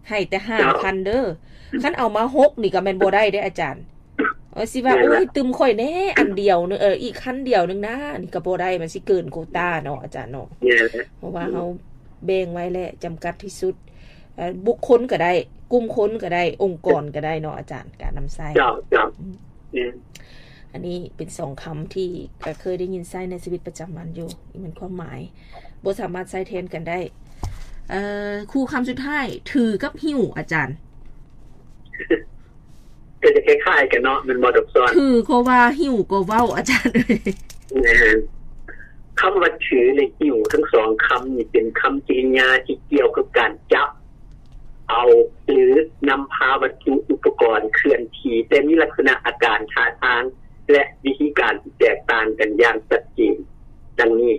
ໃຫ້ແຕ່ຫ້າພັນເດີ້. ຄັນເອົາມາຫົກນີ້ກໍແມ່ນບໍ່ໄດ້ເດ້ອາຈານ. ເອີ ຊິວ່າ ໂອ້ຍ ຕື່ມຂ້ອຍແດ່ອັນດຽວໜຶ່ງ ເອີ ອີກຄັນດຽວໜຶ່ງນາ ນີ້ກໍບໍ່ໄດ້ ມັນຊິເກີນໂກຕາເນາະອາຈານເນາະ. ເພາະວ່າເຮົາແບ່ງໄວ້ແລ້ວ ຈຳກັດທີ່ສຸດ. ເອີ ບຸກຄົນກໍໄດ້ ກຸ່ມຄົນກໍໄດ້ ອົງກອນກໍໄດ້ເນາະອາຈານ ການນຳໃຊ້. ເຈົ້າ ເຈົ້າ ອືມ ແມ່ນ. ອັນນີ້ເປັນສອງຄຳທີ່ກໍເຄີຍໄດ້ຍິນໃຊ້ໃນຊີວິດປະຈຳວັນຢູ່ ນີ້ແມ່ນຄວາມໝາຍ ບໍ່ສາມາດໃຊ້ແທນກັນໄດ້. ເອີ ຄູ່ຄຳສຸດທ້າຍ ຖືກັບຫິ້ວ ອາຈານ. ກໍຈະຄ້າຍໆກັນເນາະ ແມ່ນບໍ່ ດອກຊອນ? ຖືກໍວ່າ ຫິ້ວກໍເວົ້າ ອາຈານເອີຍ. ແມ່ນ. ຄຳວ່າຖື ແລະ ຫິ້ວ ທັງສອງຄຳນີ້ເປັນຄຳກິລິຍາທີ່ກ່ຽວກັບການຈັບເອົາ ຫຼື ນຳພາວັດຖຸອຸປະກອນເຄື່ອນທີ່, ແຕ່ມີລັກສະນະອາການ, ທ່າທາງ ແລະ ວິທີການທີ່ແຕກຕ່າງກັນຢ່າງຊັດເຈນ. ດັ່ງນີ້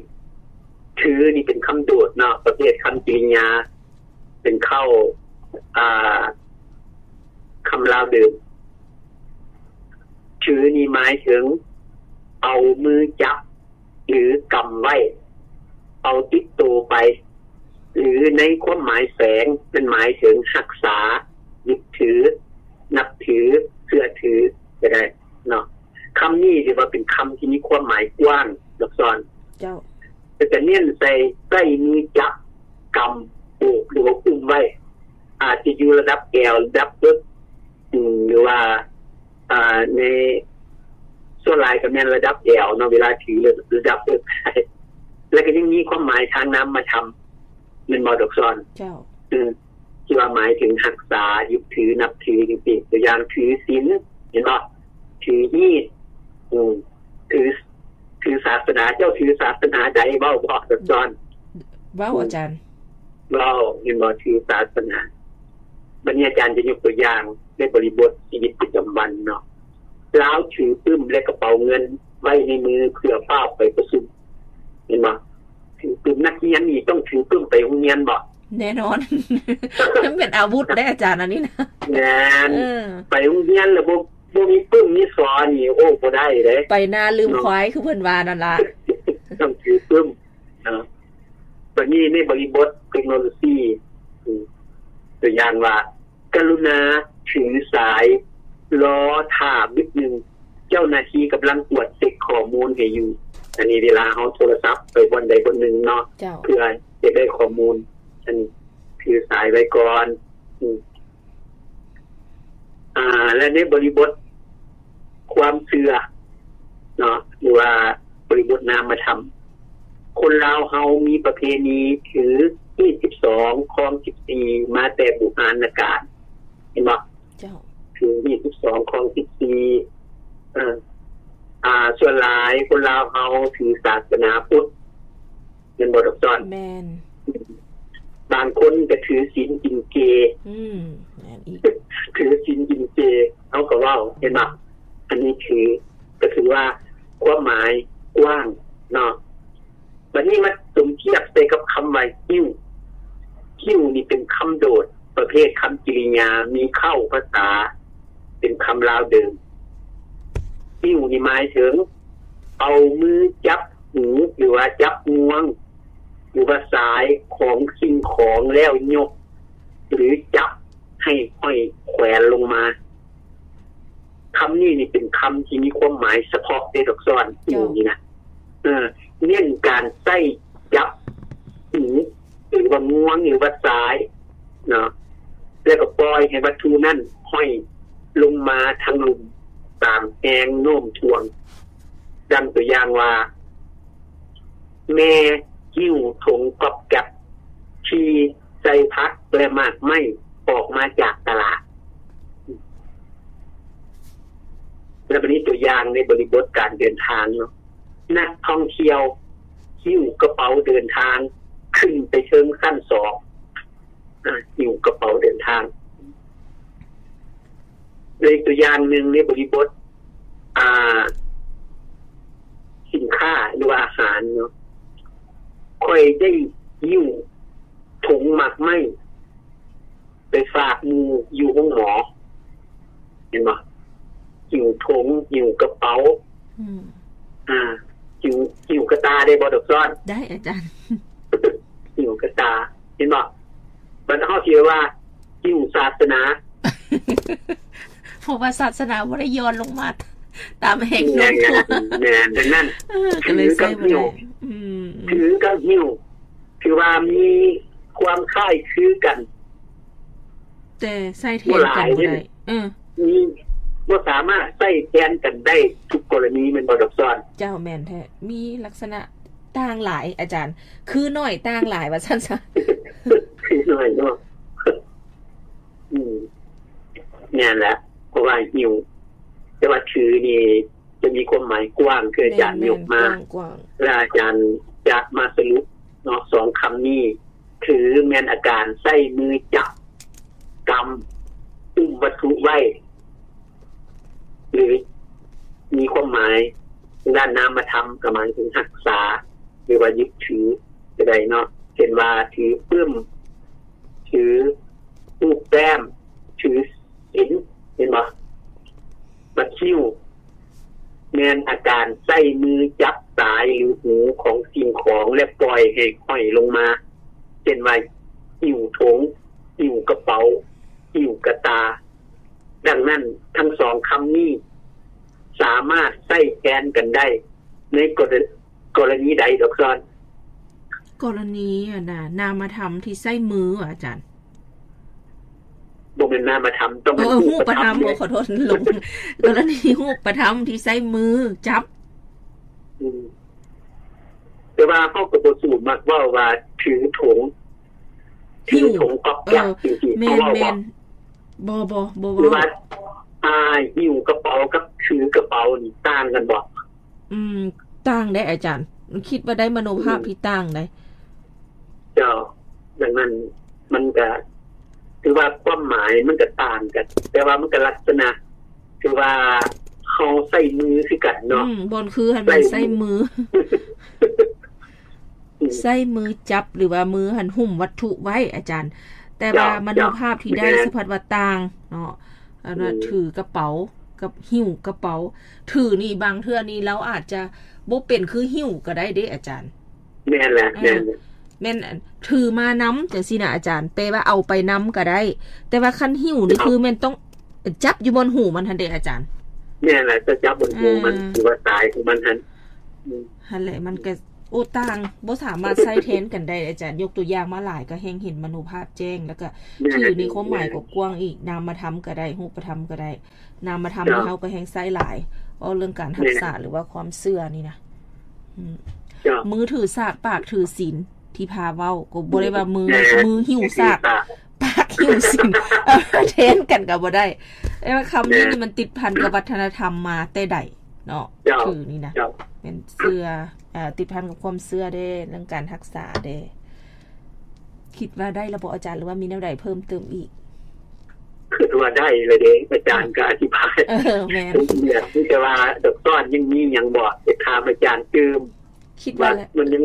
ຖືນີ້ເປັນຄຳໂດດເນາະ, ປະເພດຄຳກິລິຍາ ເປັນເຄົ້າ ອ່າ ຄຳລາວເດີມ. ຖືນີ້ໝາຍເຖິງເອົາມືຈັບ ຫຼື ກຳໄວ້, ເອົາຕິດໂຕໄປ ຫຼື ໃນຄວາມໝາຍແຝງ ມັນໝາຍເຖິງຮັກສາ, ຍຶດຖື, ນັບຖື, ເຊື່ອຖືກໍໄດ້ເນາະ. ຄຳນີ້ຖືວ່າເປັນຄຳທີ່ມີຄວາມໝາຍກວ້າງ, ດອກຊອນ. ເຈົ້າ. ແຕ່ຈະເນັ້ນໃສ່ ໃຊ້ມືຈັບ, ກຳ, ໂອບ ຫຼືວ່າອຸ້ມໄວ້, ອາດຈະຢູ່ລະດັບແອວ, ລະດັບເອິກ, ອືມ ຫຼືວ່າ ອ່າ ໃນ ສ່ວນຫຼາຍກໍແມ່ນລະດັບແອວເນາະ, ເວລາຖືລະດັບເອິກ, ແລ້ວກໍຍັງມີຄວາມໝາຍທາງນາມມະທຳ, ແມ່ນບໍ່ ດອກຊອນ? ເຈົ້າ. ອືມ ທີ່ວ່າໝາຍເຖິງຮັກສາ, ຍຶດຖື, ນັບຖື ຈັ່ງຊີ້. ຕົວຢ່າງ ຖືສິນ, ເຫັນບໍ່? ຖືຮີດ, ອືມ ຖື ຖືສາສະໜາ, ເຈົ້າຖືສາສະໜາໃດ? ເວົ້າບໍ່ ດອກຊອນ? ເວົ້າ ອືມ ອາຈານ. ເວົ້າ ເຫັນບໍ່? ຖືສາສະໜາ. ບັດນີ້ອາຈານຈະຍົກຕົວຢ່າງໃນບໍລິບົດຊີວິດປະຈຳວັນເນາະ. ລາວຖືປຶ້ມ ແລະ ກະເປົາເງິນໄວ້ໃນມື ເພື່ອຟ້າວໄປປະຊຸມ. ເຫັນບໍ່? ຖືປຶ້ມ. ນັກຮຽນນີ້ຕ້ອງຖືປຶ້ມໄປໂຮງຮຽນບໍ່? ແນ່ນອນ. ມັນເປັນອາວຸດເດ້ອາຈານ ອັນນີ້ນະ. ແມ່ນ. ເອີ ໄປໂຮງຮຽນແລ້ວບໍ່ ບໍ່ມີປຶ້ມມີສໍນີ້ ໂອ້ ບໍ່ໄດ້ເດ້. ໄປນາລືມຄວາຍ ເນາະ ຄືເພິ່ນວ່ານັ້ນລະ. ຕ້ອງຖືປຶ້ມເນາະ. ບັດນີ້ໃນບໍລິບົດເຕັກໂນໂລຊີ ອືມ ຕົວຢ່າງວ່າ ກະລຸນາຖືສາຍ ລໍຖ້າບຶດໜຶ່ງ, ເຈົ້າໜ້າທີ່ກຳລັງກວດເຊັກຂໍ້ມູນໃຫ້ຢູ່. ອັນນີ້ເວລາເຮົາໂທລະສັບໄປບ່ອນໃດບ່ອນໜຶ່ງເນາະ ເຈົ້າ ເພື່ອຢາກໄດ້ຂໍ້ມູນ, ອັນນີ້ຖືສາຍໄວ້ກ່ອນ. ອືມ ອ່າ ແລະ ໃນບໍລິບົດຄວາມເຊື່ອເນາະ ຫຼືວ່າບໍລິບົດນາມະທຳ ຄົນລາວເຮົາມີປະເພນີຖືຮີດສິບສອງ ຄອງສິບສີ່ ມາແຕ່ບູຮານນະການ ເຫັນບໍ່? ເຈົ້າ. ຖືຮີດສິບສອງ ຄອງສິບສີ່ ເອີ ອ່າ ສ່ວນຫຼາຍຄົນລາວເຮົາຖືສາສະໜາພຸດ ແມ່ນບໍ່ດອກສອນ? ແມ່ນ. ບາງຄົນກໍຖືສິນກິນເຈ. ອືມ ແມ່ນອີກ. ຖືສິນກິນເຈ ເຮົາກໍເວົ້າ ເຫັນບໍ່? ອັນນີ້ຖື ກໍຖືວ່າຄວາມໝາຍກວ້າງເນາະ. ບັດນີ້ມາສົມທຽບໃສ່ກັບຄຳວ່າຫິ້ວ. ຫິ້ວນີ້ເປັນຄຳໂດດ ປະເພດຄຳກິລິຍາ ມີເຄົ້າພາສາ ເປັນຄຳລາວເດີມ. ຫິ້ວນີ້ໝາຍເຖິງ ເອົາມືຈັບຫູ ຫຼືວ່າຈັບງວງ ຫຼືວ່າສາຍຂອງສິ່ງຂອງແລ້ວຍົກ ຫຼືຈັບໃຫ້ຫ້ອຍແຂວນລົງມາ. ຄຳນີ້ນີ້ເປັນຄຳທີ່ມີຄວາມໝາຍສະເພາະເດ້ດອກສອນ ເຈົ້າ ຢູ່ນີ້ນະ ເອີ ເນັ້ນການໃຊ້ຈັບຫູ ຫຼືວ່າງວງ ຫຼືວ່າສາຍເນາະ ແລ້ວກໍປ່ອຍໃຫ້ວັດຖຸນັ້ນຫ້ອຍລົງມາທາງລຸ່ມຕາມແຮງໂນ້ມຖ່ວງ. ດັ່ງຕົວຢ່າງວ່າ ແມ່ຫິ້ວຖົງກອບແກັບທີ່ໃສ່ຜັກ ແລະ ໝາກໄມ້ອອກມາຈາກຕະຫຼາດ. ແລ້ວບັດນີ້ຕົວຢ່າງໃນບໍລິບົດການເດີນທາງເນາະ ນັກທ່ອງທ່ຽວຫິ້ວກະເປົາເດີນທາງຂຶ້ນໄປເທິງຊັ້ນສອງ ອາ ຫິ້ວກະເປົາເດີນທາງ. ແລະ ອີກຕົວຢ່າງໜຶ່ງໃນບໍລິບົດ ອ່າ ສິນຄ້າ ຫຼືວ່າອາຫານເນາະ ຂ້ອຍໄດ້ຫິ້ວຖົງໝາກໄມ້ໄປຝາກໝູ່ຢູ່ໂຮງໝໍ ເຫັນບໍ່? ຫິ້ວຖົງ ຫິ້ວກະເປົາ ອືມ ອ່າ ຫິ້ວ ຫິ້ວກະຕ່າໄດ້ບໍ່ດອກສອນ? ໄດ້ອາຈານ ຫິ້ວກະຕ່າ ເຫັນບໍ່? ບັດເຮົາຊິວ່າຫິ້ວສາສະໜາ ເພາະວ່າສາສະໜາບໍ່ໄດ້ຢ່ອນລົງມາຕາມແຮງໂນ້ມຖ່ວງ. ແມ່ນ ແມ່ນ ດັ່ງນັ້ນ ເອີ ກໍເລີຍໃຊ້ບໍ່ໄດ້ ຖືກັບຫິ້ວ ອືມ ຖືກັບຫິ້ວ ຖືວ່າມີຄວາມຄ້າຍຄືກັນ ແຕ່ໃຊ້ແທນກັນບໍ່ໄດ້ ບໍ່ຫຼາຍເດ້ ເອີ ມີ ບໍ່ສາມາດໃຊ້ແທນກັນໄດ້ທຸກກໍລະນີ ແມ່ນບໍ່ດອກສອນ? ເຈົ້າ ແມ່ນແທ້ ມີລັກສະນະຕ່າງຫຼາຍອາຈານ ຄືໜ້ອຍຕ່າງຫຼາຍວ່າຊັ້ນຊະ ຄືໜ້ອຍເນາະ ອືມ ແມ່ນແຫຼະ ເພາະວ່າຫິ້ວ ແຕ່ວ່າຖືນີ້ ຈະມີຄວາມໝາຍກວ້າງ ຄືອາຈານຍົກມາ ແລະ ອາຈານຈະມາສະຫຼຸບເນາະ ສອງຄຳນີ້ ຖືແມ່ນອາການໃຊ້ມືຈັບ, ກຳ, ອຸ້ມວັດຖຸໄວ້ ຫຼື ມີຄວາມໝາຍທາງດ້ານນາມະທຳ ກໍໝາຍເຖິງຮັກສາ ຫຼືວ່າຍຶດຖືກໍໄດ້ເນາະ ເຊັ່ນວ່າ ຖືປຶ້ມ, ຖືຮູບແຕ້ມ, ຖືສິນ ເຫັນບໍ່? ບັດຫິ້ວ ແມ່ນອາການໃຊ້ມືຈັບສາຍ ຫຼື ຫູຂອງສິ່ງຂອງ ແລະ ປ່ອຍໃຫ້ຫ້ອຍລົງມາ ເຊັ່ນວ່າ ຫິ້ວຖົງ, ຫິ້ວກະເປົາ, ຫິ້ວກະຕ່າ. ດັ່ງນັ້ນ ທັງສອງຄຳນີ້ ສາມາດໃຊ້ແທນກັນໄດ້ ໃນກໍລະ ກໍລະນີໃດດອກຊອນ? ກໍລະນີ ອັນນ່າ ນາມະທຳທີ່ໃຊ້ມືຫວາ ອາຈານ? ບໍ່ແມ່ນນາມະທຳ ຕ້ອງເປັນ ເອີ ຮູບປະທຳ ຮູບປະທຳເດ້. ໂອ້ ຂໍໂທດ ຫຼົງ ກໍລະນີຮູບປະທຳທີ່ໃຊ້ມືຈັບ. ອືມ ແຕ່ວ່າເຮົາກໍບໍ່ສູ້ມັກເວົ້າວ່າຖືຖົງ ຖືຖົງກອບແກັບ ເອີ ຈັ່ງຊີ້ ແມ່ນ ເຮົາເວົ້າບໍ່? ບໍ່ ບໍ່ ບໍ່ເວົ້າ. ຫຼືວ່າ ອ່າ ຫິ້ວກະເປົາກັບຖືກະເປົານີ້ຕ່າງກັນບໍ່? ອືມ ຕ່າງເດ້ອາຈານ ຄິດວ່າໄດ້ມະໂນພາບ ອືມ ທີ່ຕ່າງເດ້. ເຈົ້າ ດັ່ງນັ້ນມັນກະຖືວ່າຄວາມໝາຍມັນກະຕ່າງກັນ ແຕ່ວ່າມັນກະລັກສະນະ ຖືວ່າເຮົາໃຊ້ມືຄືກັນເນາະ. ອືມ ບ່ອນຄືຫັ້ນແມ່ນໃຊ້ມື ໃຊ້ມື ອືມ ໃຊ້ມືຈັບ ຫຼືວ່າມືຫັ້ນຫຸ້ມວັດຖຸໄວ້ອາຈານ ແຕ່ວ່າ ເຈົ້າ ມະໂນພາບທີ່ໄດ້ ເຈົ້າ ສະພັດວ່າຕ່າງເນາະ. ອັນວ່າ ອືມ ຖືກະເປົາກັບຫິ້ວກະເປົາ ຖືນີ້ບາງເທື່ອນີ້ລາວອາດຈະບໍ່ເປັນຄືຫິ້ວກໍໄດ້ເດ້ອາຈານ. ແມ່ນແຫຼະ ເອີ ແມ່ນ ແມ່ນ ຖືມານຳຈັ່ງຊີ້ນະອາຈານ ແປວ່າເອົາໄປນຳກໍໄດ້ ແຕ່ວ່າຄັນຫິ້ວນີ້ ເຈົ້າ ຄືແມ່ນຕ້ອງຈັບຢູ່ບ່ອນຫູມັນຫັ້ນເດ້ອາຈານ. ແມ່ນແຫຼະ ຈະຈັບບ່ອນຫູມັນ ເອີ ຫຼືວ່າສາຍຂອງມັນຫັ້ນ. ອືມ ຫັ້ນແຫຼະ ມັນກໍ ໂອ້ ຕ່າງ ບໍ່ສາມາດໃຊ້ແທນກັນໄດ້ ອາຈານ. ຍົກຕົວຢ່າງມາຫຼາຍ ກໍແຮ່ງເຫັນມະໂນພາບແຈ້ງ ແລ້ວກໍ ແມ່ນ ຖືໃນຄວາມໝາຍ ແມ່ນ ກວ້າງໆອີກ ນາມະທຳກໍໄດ້ ຮູບປະທຳກໍໄດ້. ນາມະທຳ ເຈົ້າ ນີ້ເຮົາກໍແຮ່ງໃຊ້ຫຼາຍ ເວົ້າເລື່ອງການຮັກສາ ແມ່ນ ຫຼືວ່າຄວາມເຊື່ອນີ້ນະ. ອືມ ເຈົ້າ ມືຖືສາກ ປາກຖືສິນ ທີ່ພາເວົ້າ ກໍບໍ່ໄດ້ວ່າມື ແມ່ນ ມືຫິ້ວສາກ ປາກຫິ້ວສິນ ເອົາມາແທນກັນກໍບໍ່ໄດ້. ແຕ່ວ່າຄຳນີ້ ແມ່ນ ນີ້ມັນຕິດພັນກັບວັດທະນະທຳມາແຕ່ໃດເນາະ ເຈົ້າ ຖືນີ້ນະ ເຈົ້າ ແມ່ນເຊື່ອ ເອີ ຕິດພັນກັບຄວາມເຊື່ອເດ້ ເລື່ອງການຮັກສາເດ້. ຄິດວ່າໄດ້ແລ້ວບໍ່ອາຈານ ຫຼືວ່າມີແນວໃດເພີ່ມເຕີມອີກ? ຄິດວ່າໄດ້ແລ້ວເດ້ ອາຈານກໍອະທິບາຍ ເອີ ແມ່ນ ມີແຕ່ວ່າດອກຕອນຍັງມີຫຍັງບໍ່ ຈະຖາມອາຈານຕື່ມ. ຄິດວ່າ ວ່າມັນຍັງ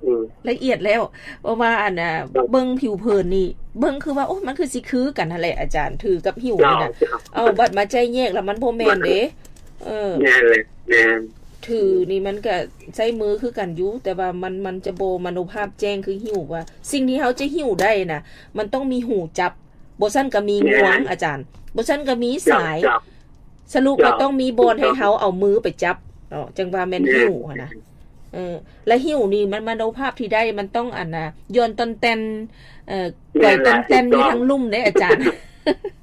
ອືມ ລະອຽດແລ້ວ ເພາະວ່າອັນນ່າ ເບິ່ງຜິວເຜິນນີ້ ເບິ່ງຄືວ່າ ໂອ້ ມັນຄືຊິຄືກັນຫັ້ນແຫຼະອາຈານ ຖືກັບຫິ້ວນີ້ນະ. ເຈົ້າ ເອົາ ບັດມາໄຈ້ແຍກແລ້ວມັນບໍ່ແມ່ນເດ້. ເອີ ແມ່ນແຫຼະ ແມ່ນ ຖືນີ້ມັນກະໃຊ້ມືຄືກັນຢູ່ ແຕ່ວ່າມັນ ມັນຈະບໍ່ມະໂນພາບແຈ້ງຄືຫິ້ວ ວ່າສິ່ງທີ່ເຮົາຈະຫິ້ວໄດ້ນະ ມັນຕ້ອງມີຫູຈັບ ບໍ່ຊັ້ນກະມີງວງ ແມ່ນ ອາຈານ ບໍ່ຊັ້ນກະມີສາຍ ເຈົ້າ ເຈົ້າ ສະຫຼຸບ ເຈົ້າ ວ່າຕ້ອງມີບ່ອນໃຫ້ເຮົາເອົາມືໄປຈັບເນາະ ຈັ່ງວ່າແມ່ນ ແມ່ນ ຫິ້ວຫັ້ນນະ. ເອີ ແລະຫິ້ວນີ້ມັນມະໂນພາບທີ່ໄດ້ ມັນຕ້ອງອັນນ່າ ຢ່ອນຕ່ອນແຕ່ນ ເອີ ແມ່ນ ໄກວຕ່ອນແຕ່ນຢູ່ທາງລຸ່ມເດ້ອາຈານ.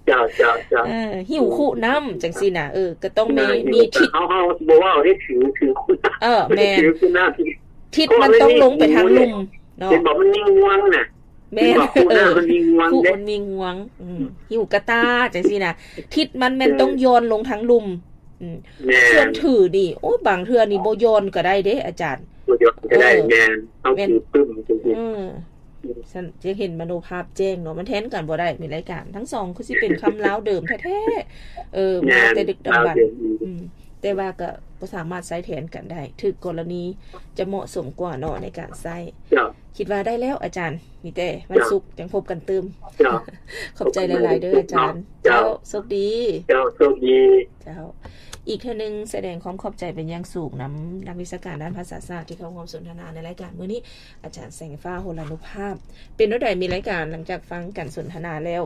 ເຈົ້າ ເຈົ້າ ເຈົ້າ ເອີ ຫິ້ວຄຸນ້ຳຈັ່ງຊີ້ນະ ເອີ ກໍຕ້ອງມີ ມີທິດ ເຮົາ ເຮົາບໍ່ເວົ້າເດ້ ຖື ຖືຄຸນ້ຳ ເອີ ແມ່ນ ຖືຄຸນ້ຳ ທິດມັນຕ້ອງລົງໄປທາງລຸ່ມເນາະ ເຫັນບໍ່ ມັນມີງວງນະ. ແມ່ນ ເຫັນບໍ່ ຄຸນ້ຳມັນມີງວງ ເອີ ເດ້ ຄຸມັນມີງວງ ອືມ ຫິ້ວກະຕ່າຈັ່ງຊີ້ນະ ທິດມັນແມ່ນ ເອີ ຕ້ອງຢ່ອນລົງທາງລຸ່ມ. ອືມ ແມ່ນ ສ່ວນຖືນີ້ ໂອ້ຍ ບາງເທື່ອນີ້ບໍ່ຢ່ອນກໍໄດ້ເດ້ອາຈານ ບໍ່ຢ່ອນກໍໄດ້ ເອີ ແມ່ນ ເຮົາ ແມ່ນ ຖືປຶ້ມຈັ່ງຊີ້ ເອີ ຊັ້ນຈະເຫັນມະໂນພາບແຈ້ງເນາະ ມັນແທນກັນບໍ່ໄດ້. ມີລາຍການທັງສອງຄືຊິເປັນຄຳລາວເດີມແທ້ໆ ເອີ ແມ່ນ ມາແຕ່ດຶກດຳບັນ ລາວເດີມ ອືມ ແຕ່ວ່າກໍບໍ່ສາມາດໃຊ້ແທນກັນໄດ້ ຖືກກໍລະນີຈະເໝາະສົມກວ່າເນາະໃນການໃຊ້. ເຈົ້າ ຄິດວ່າໄດ້ແລ້ວອາຈານ ມີແຕ່ວັນ ເຈົ້າ ສຸກຈັ່ງພົບກັນຕື່ມ. ເຈົ້າ ຂອບໃຈຫຼາຍໆເດີອາຈານ. ເຈົ້າ ເຈົ້າ ໂຊກດີ. ເຈົ້າ ໂຊກດີ. ເຈົ້າ ອີກເທື່ອໜຶ່ງສະແດງຄວາມຂອບໃຈເປັນຢ່າງສູງນຳນັກວິຊາການດ້ານພາສາສາດທີ່ເຂົ້າຮ່ວມສົນທະນາໃນລາຍການມື້ນີ້ ອາຈານແສງຟ້າ ໂຫລານຸພາບ. ເປັນແນວໃດ ມີລາຍການ ຫຼັງຈາກຟັງການສົນທະນາແລ້ວ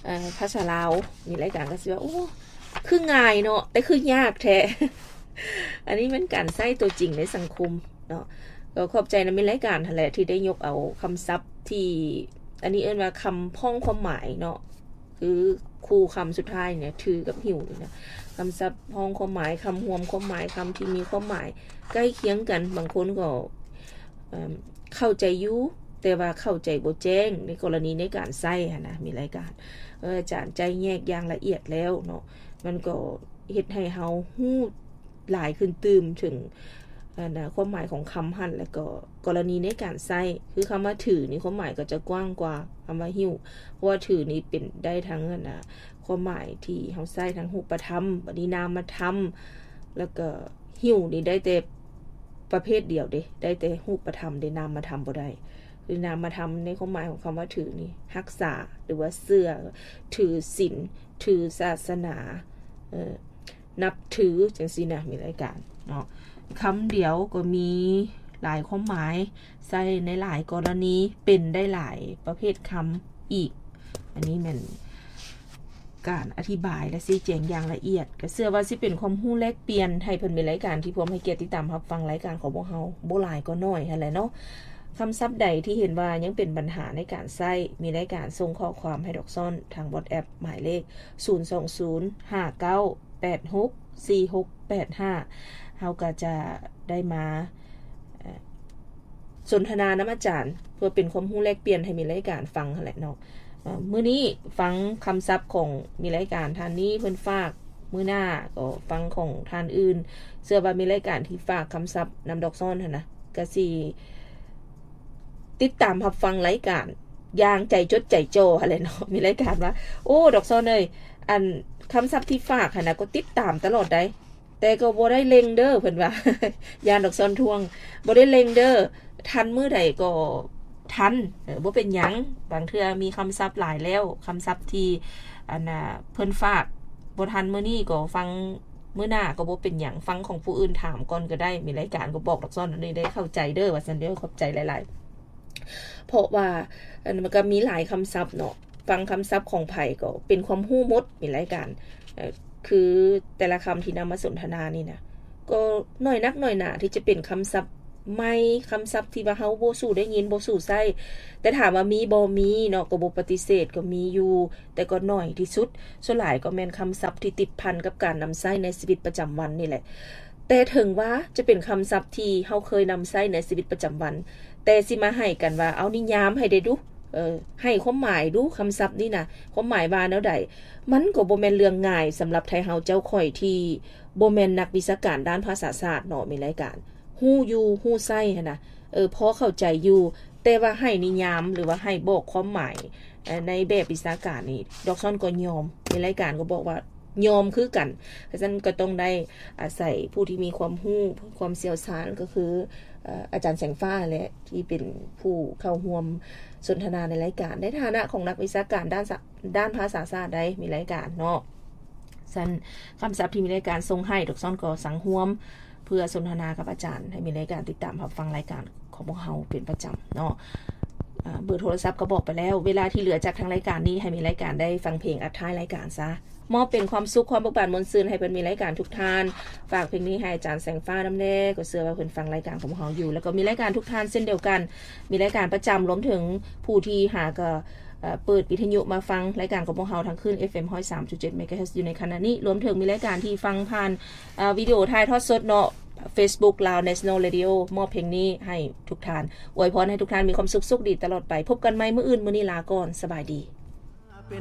ເອີ ພາສາລາວ ມີລາຍການກໍຊິວ່າ ໂອ້ ຄືງ່າຍເນາະ ແຕ່ຄືຍາກແທ້. ອັນນີ້ແມ່ນການໃຊ້ຕົວຈິງໃນສັງຄົມເນາະ. ກໍຂອບໃຈນຳມີລາຍການຫັ້ນແຫຼະ ທີ່ໄດ້ຍົກເອົາຄຳສັບທີ່ ອັນນີ້ເອີ້ນວ່າຄຳພ້ອງຄວາມໝາຍເນາະ ຄືຄູ່ຄຳສຸດທ້າຍນີ້ ຖືກັບຫິ້ວນີ້ນະ ຄຳສັບພ້ອງຄວາມໝາຍ ຄຳຮວມຄວາມໝາຍ ຄຳທີ່ມີຄວາມໝາຍໃກ້ຄຽງກັນ. ບາງຄົນກໍ ເອີ ເຂົ້າໃຈຢູ່ ແຕ່ວ່າເຂົ້າໃຈບໍ່ແຈ້ງ ໃນກໍລະນີໃນການໃຊ້ຫັ້ນນະ ມີລາຍການ ເອີ ອາຈານໄຈ້ແຍກຢ່າງລະອຽດແລ້ວເນາະ ມັນກໍເຮັດໃຫ້ເຮົາຮູ້ຫຼາຍຂຶ້ນຕື່ມເຖິງ ອັນນ່າ ຄວາມໝາຍຂອງຄຳຫັ້ນ ແລ້ວກໍກໍລະນີໃນການໃຊ້ ຄືຄຳວ່າຖືນີ້ ຄວາມໝາຍກໍຈະກວ້າງກວ່າຄຳວ່າຫິ້ວ ເພາະວ່າຖືນີ້ເປັນໄດ້ທັງ ອັນນ່າ ຄວາມໝາຍທີ່ເຮົາໃຊ້ທາງຮູບປະທຳ ບັດນີ້ນາມມະທຳ ແລ້ວກໍຫິ້ວນີ້ໄດ້ແຕ່ ປະເພດດຽວເດ້ ໄດ້ແຕ່ຮູບປະທຳເດ້ ນາມມະທຳບໍ່ໄດ້. ຄືນາມມະທຳໃນຄວາມໝາຍຂອງຄຳວ່າຖືນີ້ ຮັກສາ ຫຼືວ່າເຊື່ອ ຖືສິນ ຖືສາສະໜາ ເອີ ນັບຖື ຈັ່ງຊີ້ນະ ມີລາຍການເນາະ. ຄຳດຽວກໍມີຫຼາຍຄວາມໝາຍ ໃຊ້ໃນຫຼາຍກໍລະນີ ເປັນໄດ້ຫຼາຍປະເພດຄຳອີກ. ອັນນີ້ແມ່ນ ການອະທິບາຍ ແລະ ຊີ້ແຈງຢ່າງລະອຽດ. ກໍເຊື່ອວ່າຊິເປັນຄວາມຮູ້ແລກປ່ຽນ ໃຫ້ເພິ່ນມີລາຍການທີ່ພ້ອມໃຫ້ກຽດຕິດຕາມຮັບຟັງລາຍການຂອງພວກເຮົາ ບໍ່ຫຼາຍກໍໜ້ອຍຫັ້ນແຫຼະເນາະ. ຄຳສັບໃດທີ່ເຫັນວ່າຍັງເປັນບັນຫາໃນການໃຊ້ ມີລາຍການສົ່ງຂໍ້ຄວາມໃຫ້ດອກຊອນທາງ WhatsApp ໝາຍເລກ ສູນສອງສູນ ຫ້າເກົ້າ ແປດຫົກ ສີ່ຫົກ ແປດຫ້າ ເຮົາກໍຈະໄດ້ມາ ເອີ ສົນທະນານຳອາຈານ ເພື່ອເປັນຄວາມຮູ້ແລກປ່ຽນໃຫ້ມີລາຍການຟັງຫັ້ນແຫຼະເນາະ. ເອີ ມື້ນີ້ຟັງຄຳສັບຂອງມີລາຍການທ່ານນີ້ເພິ່ນຝາກ ມື້ໜ້າກໍຟັງຂອງທ່ານອື່ນ. ເຊື່ອວ່າມີລາຍການທີ່ຝາກຄຳສັບນຳດອກຊອນຫັ້ນນະ ກະຊິຕິດຕາມຮັບຟັງລາຍການຢ່າງໃຈຈົດໃຈຈໍ່ຫັ້ນແຫຼະເນາະ. ມີລາຍການວ່າ ໂອ້ ດອກຊອນເອີຍ ອັນຄຳສັບທີ່ຝາກຫັ້ນນະ ກໍຕິດຕາມຕະຫຼອດໃດ ແຕ່ກໍບໍ່ໄດ້ເລັ່ງເດີ ເພິ່ນວ່າ ຢ້ານດອກຊອນທ້ວງ ບໍ່ໄດ້ເລັ່ງເດີ ທັນມື້ໃດກໍທັນ ເອີ ບໍ່ເປັນຫຍັງ. ບາງເທື່ອມີຄຳສັບຫຼາຍແລ້ວ ຄຳສັບທີ່ ອັນນ່າ ເພິ່ນຝາກບໍ່ທັນມື້ນີ້ກໍຟັງມື້ໜ້າກໍບໍ່ເປັນຫຍັງ ຟັງຂອງຜູ້ອື່ນຖາມກ່ອນກໍໄດ້. ມີລາຍການກໍບອກດອກຊອນອັນນີ້ໄດ້ເຂົ້າໃຈເດີ ວ່າຊັ້ນເດີ ຂອບໃຈຫຼາຍໆ. ເພາະວ່າ ອັນ ມັນກໍມີຫຼາຍຄຳສັບເນາະ ຟັງຄຳສັບຂອງໃຜກໍເປັນຄວາມຮູ້ໝົດ. ມີລາຍການ ເອີ ຄືແຕ່ລະຄຳທີ່ນຳມາສົນທະນານີ້ນະ ກໍໜ້ອຍນັກໜ້ອຍໜາທີ່ຈະເປັນຄຳສັບ ໃໝ່, ຄຳສັບທີ່ວ່າເຮົາບໍ່ສູ່ໄດ້ຍິນ, ບໍ່ສູ່ໃຊ້. ແຕ່ຖາມວ່າມີບໍ່? ມີເນາະ, ກໍບໍ່ປະຕິເສດ, ກໍມີຢູ່, ແຕ່ກໍໜ້ອຍທີ່ສຸດ. ສ່ວນຫຼາຍກໍແມ່ນຄຳສັບທີ່ຕິດພັນກັບການນຳໃຊ້ໃນຊີວິດປະຈຳວັນນີ້ແຫຼະ. ແຕ່ເຖິງວ່າຈະເປັນຄຳສັບທີ່ເຮົາເຄີຍນຳໃຊ້ໃນຊີວິດປະຈຳວັນ, ແຕ່ຊິມາໃຫ້ກັນວ່າ ເອົານິຍາມໃຫ້ໄດ້ດຸ, ເອີ ໃຫ້ຄວາມໝາຍດຸ, ຄຳສັບນີ້ນະ ຄວາມໝາຍວ່າແນວໃດ? ມັນກໍບໍ່ແມ່ນເລື່ອງງ່າຍສຳລັບໄທເຮົາເຈົ້າຂ້ອຍທີ່ບໍ່ແມ່ນນັກວິຊາການດ້ານພາສາສາດເນາະ, ແມ່ນລາຍການ ຮູ້ຢູ່ຮູ້ໃຊ້ຫັ້ນນະ, ເອີ ພໍເຂົ້າໃຈຢູ່, ແຕ່ວ່າໃຫ້ນິຍາມ ຫຼືວ່າໃຫ້ບອກຄວາມໝາຍ ເອີ ໃນແບບວິຊາການນີ້ ດອກຊອນກໍຍອມ, ໃນລາຍການກໍບອກວ່າຍອມຄືກັນ. ເພາະສະນັ້ນກໍຕ້ອງໄດ້ອາໄສຜູ້ທີ່ມີຄວາມຮູ້ ຄວາມຊ່ຽວຊານ ກໍຄື ເອີ ອາຈານແສງຟ້າແຫຼະ ທີ່ເປັນຜູ້ເຂົ້າຮ່ວມສົນທະນາໃນລາຍການ ໃນຖານະຂອງນັກວິຊາການດ້ານສະ ດ້ານພາສາສາດໃດ໋ ມີລາຍການເນາະ. ຊັ້ນຄຳສັບທີ່ມີລາຍການສົ່ງໃຫ້ ດອກຊອນກໍສັງຮວມ ເພື່ອສົນທະນາກັບອາຈານ. ໃຫ້ມີລາຍການຕິດຕາມຮັບຟັງລາຍການຂອງພວກເຮົາເປັນປະຈຳເນາະ. ອາ ເບີໂທລະສັບກໍບອກໄປແລ້ວ. ເວລາທີ່ເຫຼືອຈາກທາງລາຍການນີ້ ໃຫ້ມີລາຍການໄດ້ຟັງເພງອັດທ້າຍລາຍການຊະ. ມອບເປັນຄວາມສຸກ, ຄວາມເບີກບານມ່ວນຊື່ນ ໃຫ້ເພິ່ນມີລາຍການທຸກທ່ານ. ຝາກເພງນີ້ໃຫ້ອາຈານແສງຟ້ານຳແດ່, ກໍເຊື່ອວ່າເພິ່ນຟັງລາຍການຂອງພວກເຮົາຢູ່. ແລ້ວກໍມີລາຍການທຸກທ່ານເຊັ່ນດຽວກັນ, ມີລາຍການປະຈຳ, ລວມເຖິງຜູ້ທີ່ຫາກໍ ເອີ ເປີດວິທະຍຸມາຟັງລາຍການຂອງພວກເຮົາທາງຄື້ນ ເອັຟເອັມ ຮ້ອຍສາມຈຸດເຈັດ ເມກາເຮີດ ຢູ່ໃນຂະນະນີ້, ລວມເຖິງມີລາຍການທີ່ຟັງຜ່ານ ເອີ ວິດີໂອຖ່າຍທອດສົດເນາະ Facebook Lao National Radio. ມອບເພງນີ້ໃຫ້ທຸກທ່ານ, ອວຍພອນໃຫ້ທຸກທ່ານມີຄວາມສຸກ, ໂຊກດີຕະຫຼອດໄປ. ພົບກັນໃໝ່ມື້ອື່ນ, ມື້ນີ້ລາກ່ອນ, ສະບາຍດີ.